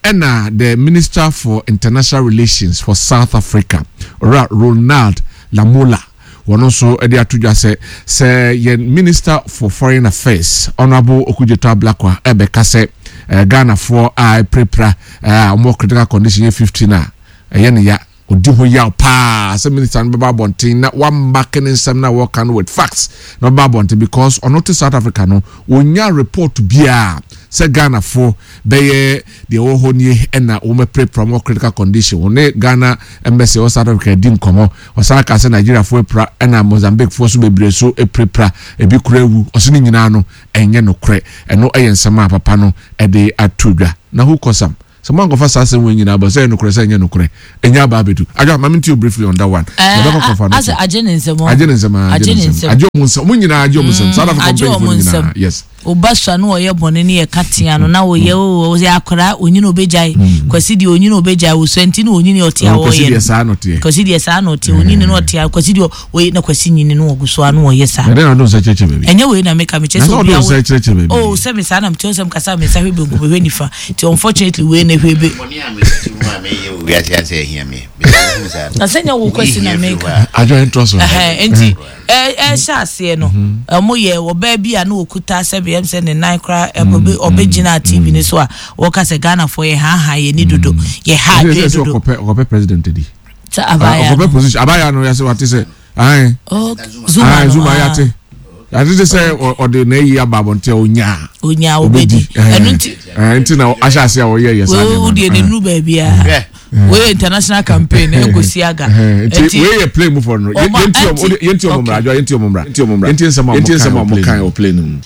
ɛna the Minister for International Relations for South Africa, Owura Ronald Lamola, wɔn nso de ato dwa sɛ sɛ yɛn Minister for Foreign Affairs, Honourable Okudzeto Ablakwa, ɛbɛka sɛ ɛɛ Ghanafoɔ a ɛpirapira ɛɛ a wɔn critical condition yɛ fifteen a, ɛyɛ ne ya, odi ho yaw paa sɛ minister no bɛba abɔnten na wamba ke ne nsɛm na wɔka no with facts na ɔba abɔnten, because ɔno te South Africa no, onya report biara sɛ Ghanafoɔ bɛyɛ deɛ ɛwɔ hɔ nie ɛna wɔn apirapira wɔn critical condition. Wɔn Ghana Embassy ɛwɔ South Africa di nkɔmɔ. Ɔsan ka sɛ Nigeriafoɔ apira ɛna Mozambiquefoɔ so bebree so apirapira, ebi kura ewu. Ɔso ne nyinaa no ɛnyɛ nokorɛ. Ɛno ɛyɛ nsɛm a papa no ɛde ato dwa. Na who cause am sɛ mo ankɔfa saa asɛm wɔ nyinaa bɔ sɛ ɛyɛ nokorɛ sɛ ɛnyɛ nokorɛ ɛnyɛ aba abɛdu adwa. Maame nti o, briefly on that one. Yɛbɛkɔ kɔfa no. Asɛ agye ne nsɛm. Agye ne nsɛm, ah, agye ne nsɛm, agye ɔmo nsɛm, ɔmo nyinaa agye ɔmo nsɛm, South Africa agye mpanyinfoɔ ɔmo no nsɛm. nyinaa, yes. Ɔba sua no, ɔyɛ bɔne ne yɛka tea no na ɔyɛ o, ɔyɛ akwaraa onyini obɛgyae. Kwasi deɛ, onyini obɛgyae wosua nti na onyini ɔte a Ɔmo Kwasi wɔyɛ deɛ no. Saa no teɛ. Kwasi deɛ, saa na ɔte, onyini na ɔte a. Kwasi deɛ ɔyɛ na Kwasi nyini no ɔgu so a na ɔyɛ saa. Ɛdɛn na ɔde nsa kyerɛkyerɛ baabi? Ɛnyɛ wei na meka, mekyɛ Na sɛ sɛ ɔde obi nsa awo kyerɛkyerɛ baabi. Oh, sɛ me saa na mekyerɛ sɛ mekasa, me nsa hwɛ benkum, hwɛ nifa, nti unfortunately wei na hwɛ be. Bɔne a mete mu a meyɛ wɔ wiase ase ahia me. Mesɛ saa. Na sɛ nyɛ wo Kwasi na meka. Adwa ntoa so. Ɛhɛn, nti ɛ- ɛhyɛ aseɛ no, ɔmo yɛ ɔbaa bi a na okuta sɛ bɛyɛm sɛ ne nan koraa ɛbɛ ɔbɛgyina T V ne so a wɔka sɛ Ghanafoɔ yɛ haahaa yɛ ni dodo, yɛ ha ɛsɛ adwene sɛ dodo. ɔkɔpɛ ɔkɔpɛ president di. Sɛ abaayewa ɔkɔpɛ no position, abaayewa no yɛsɛ wate sɛ ayi. Oh, Zuma. Ayi. No. Zuma. Ah. Yate yate te sɛ ɔ- ɔde n'ayi aba abɔnten a onyaa. Onya obedi, ɛno nti. Ɛɛ, nti na ahyɛ ase a ɔyɛ yɛ saa wei nneɛma wo deɛ no. ne nuru baabi a Hwɛ. wei international campaign ɛnkosi aga. Ɛhɛn, nti wei yɛ plane mu fɔ no. Ɔma- yɛnti ɔmo ɛnti- yɛnti ɔmo mmra, adwa, yɛnti ɔmo mmra, yɛnti ɔmo mmra, yɛnti nsɛm a Yɛnti nsɛm a ɔmo ɔmo kan wɔ plane mu.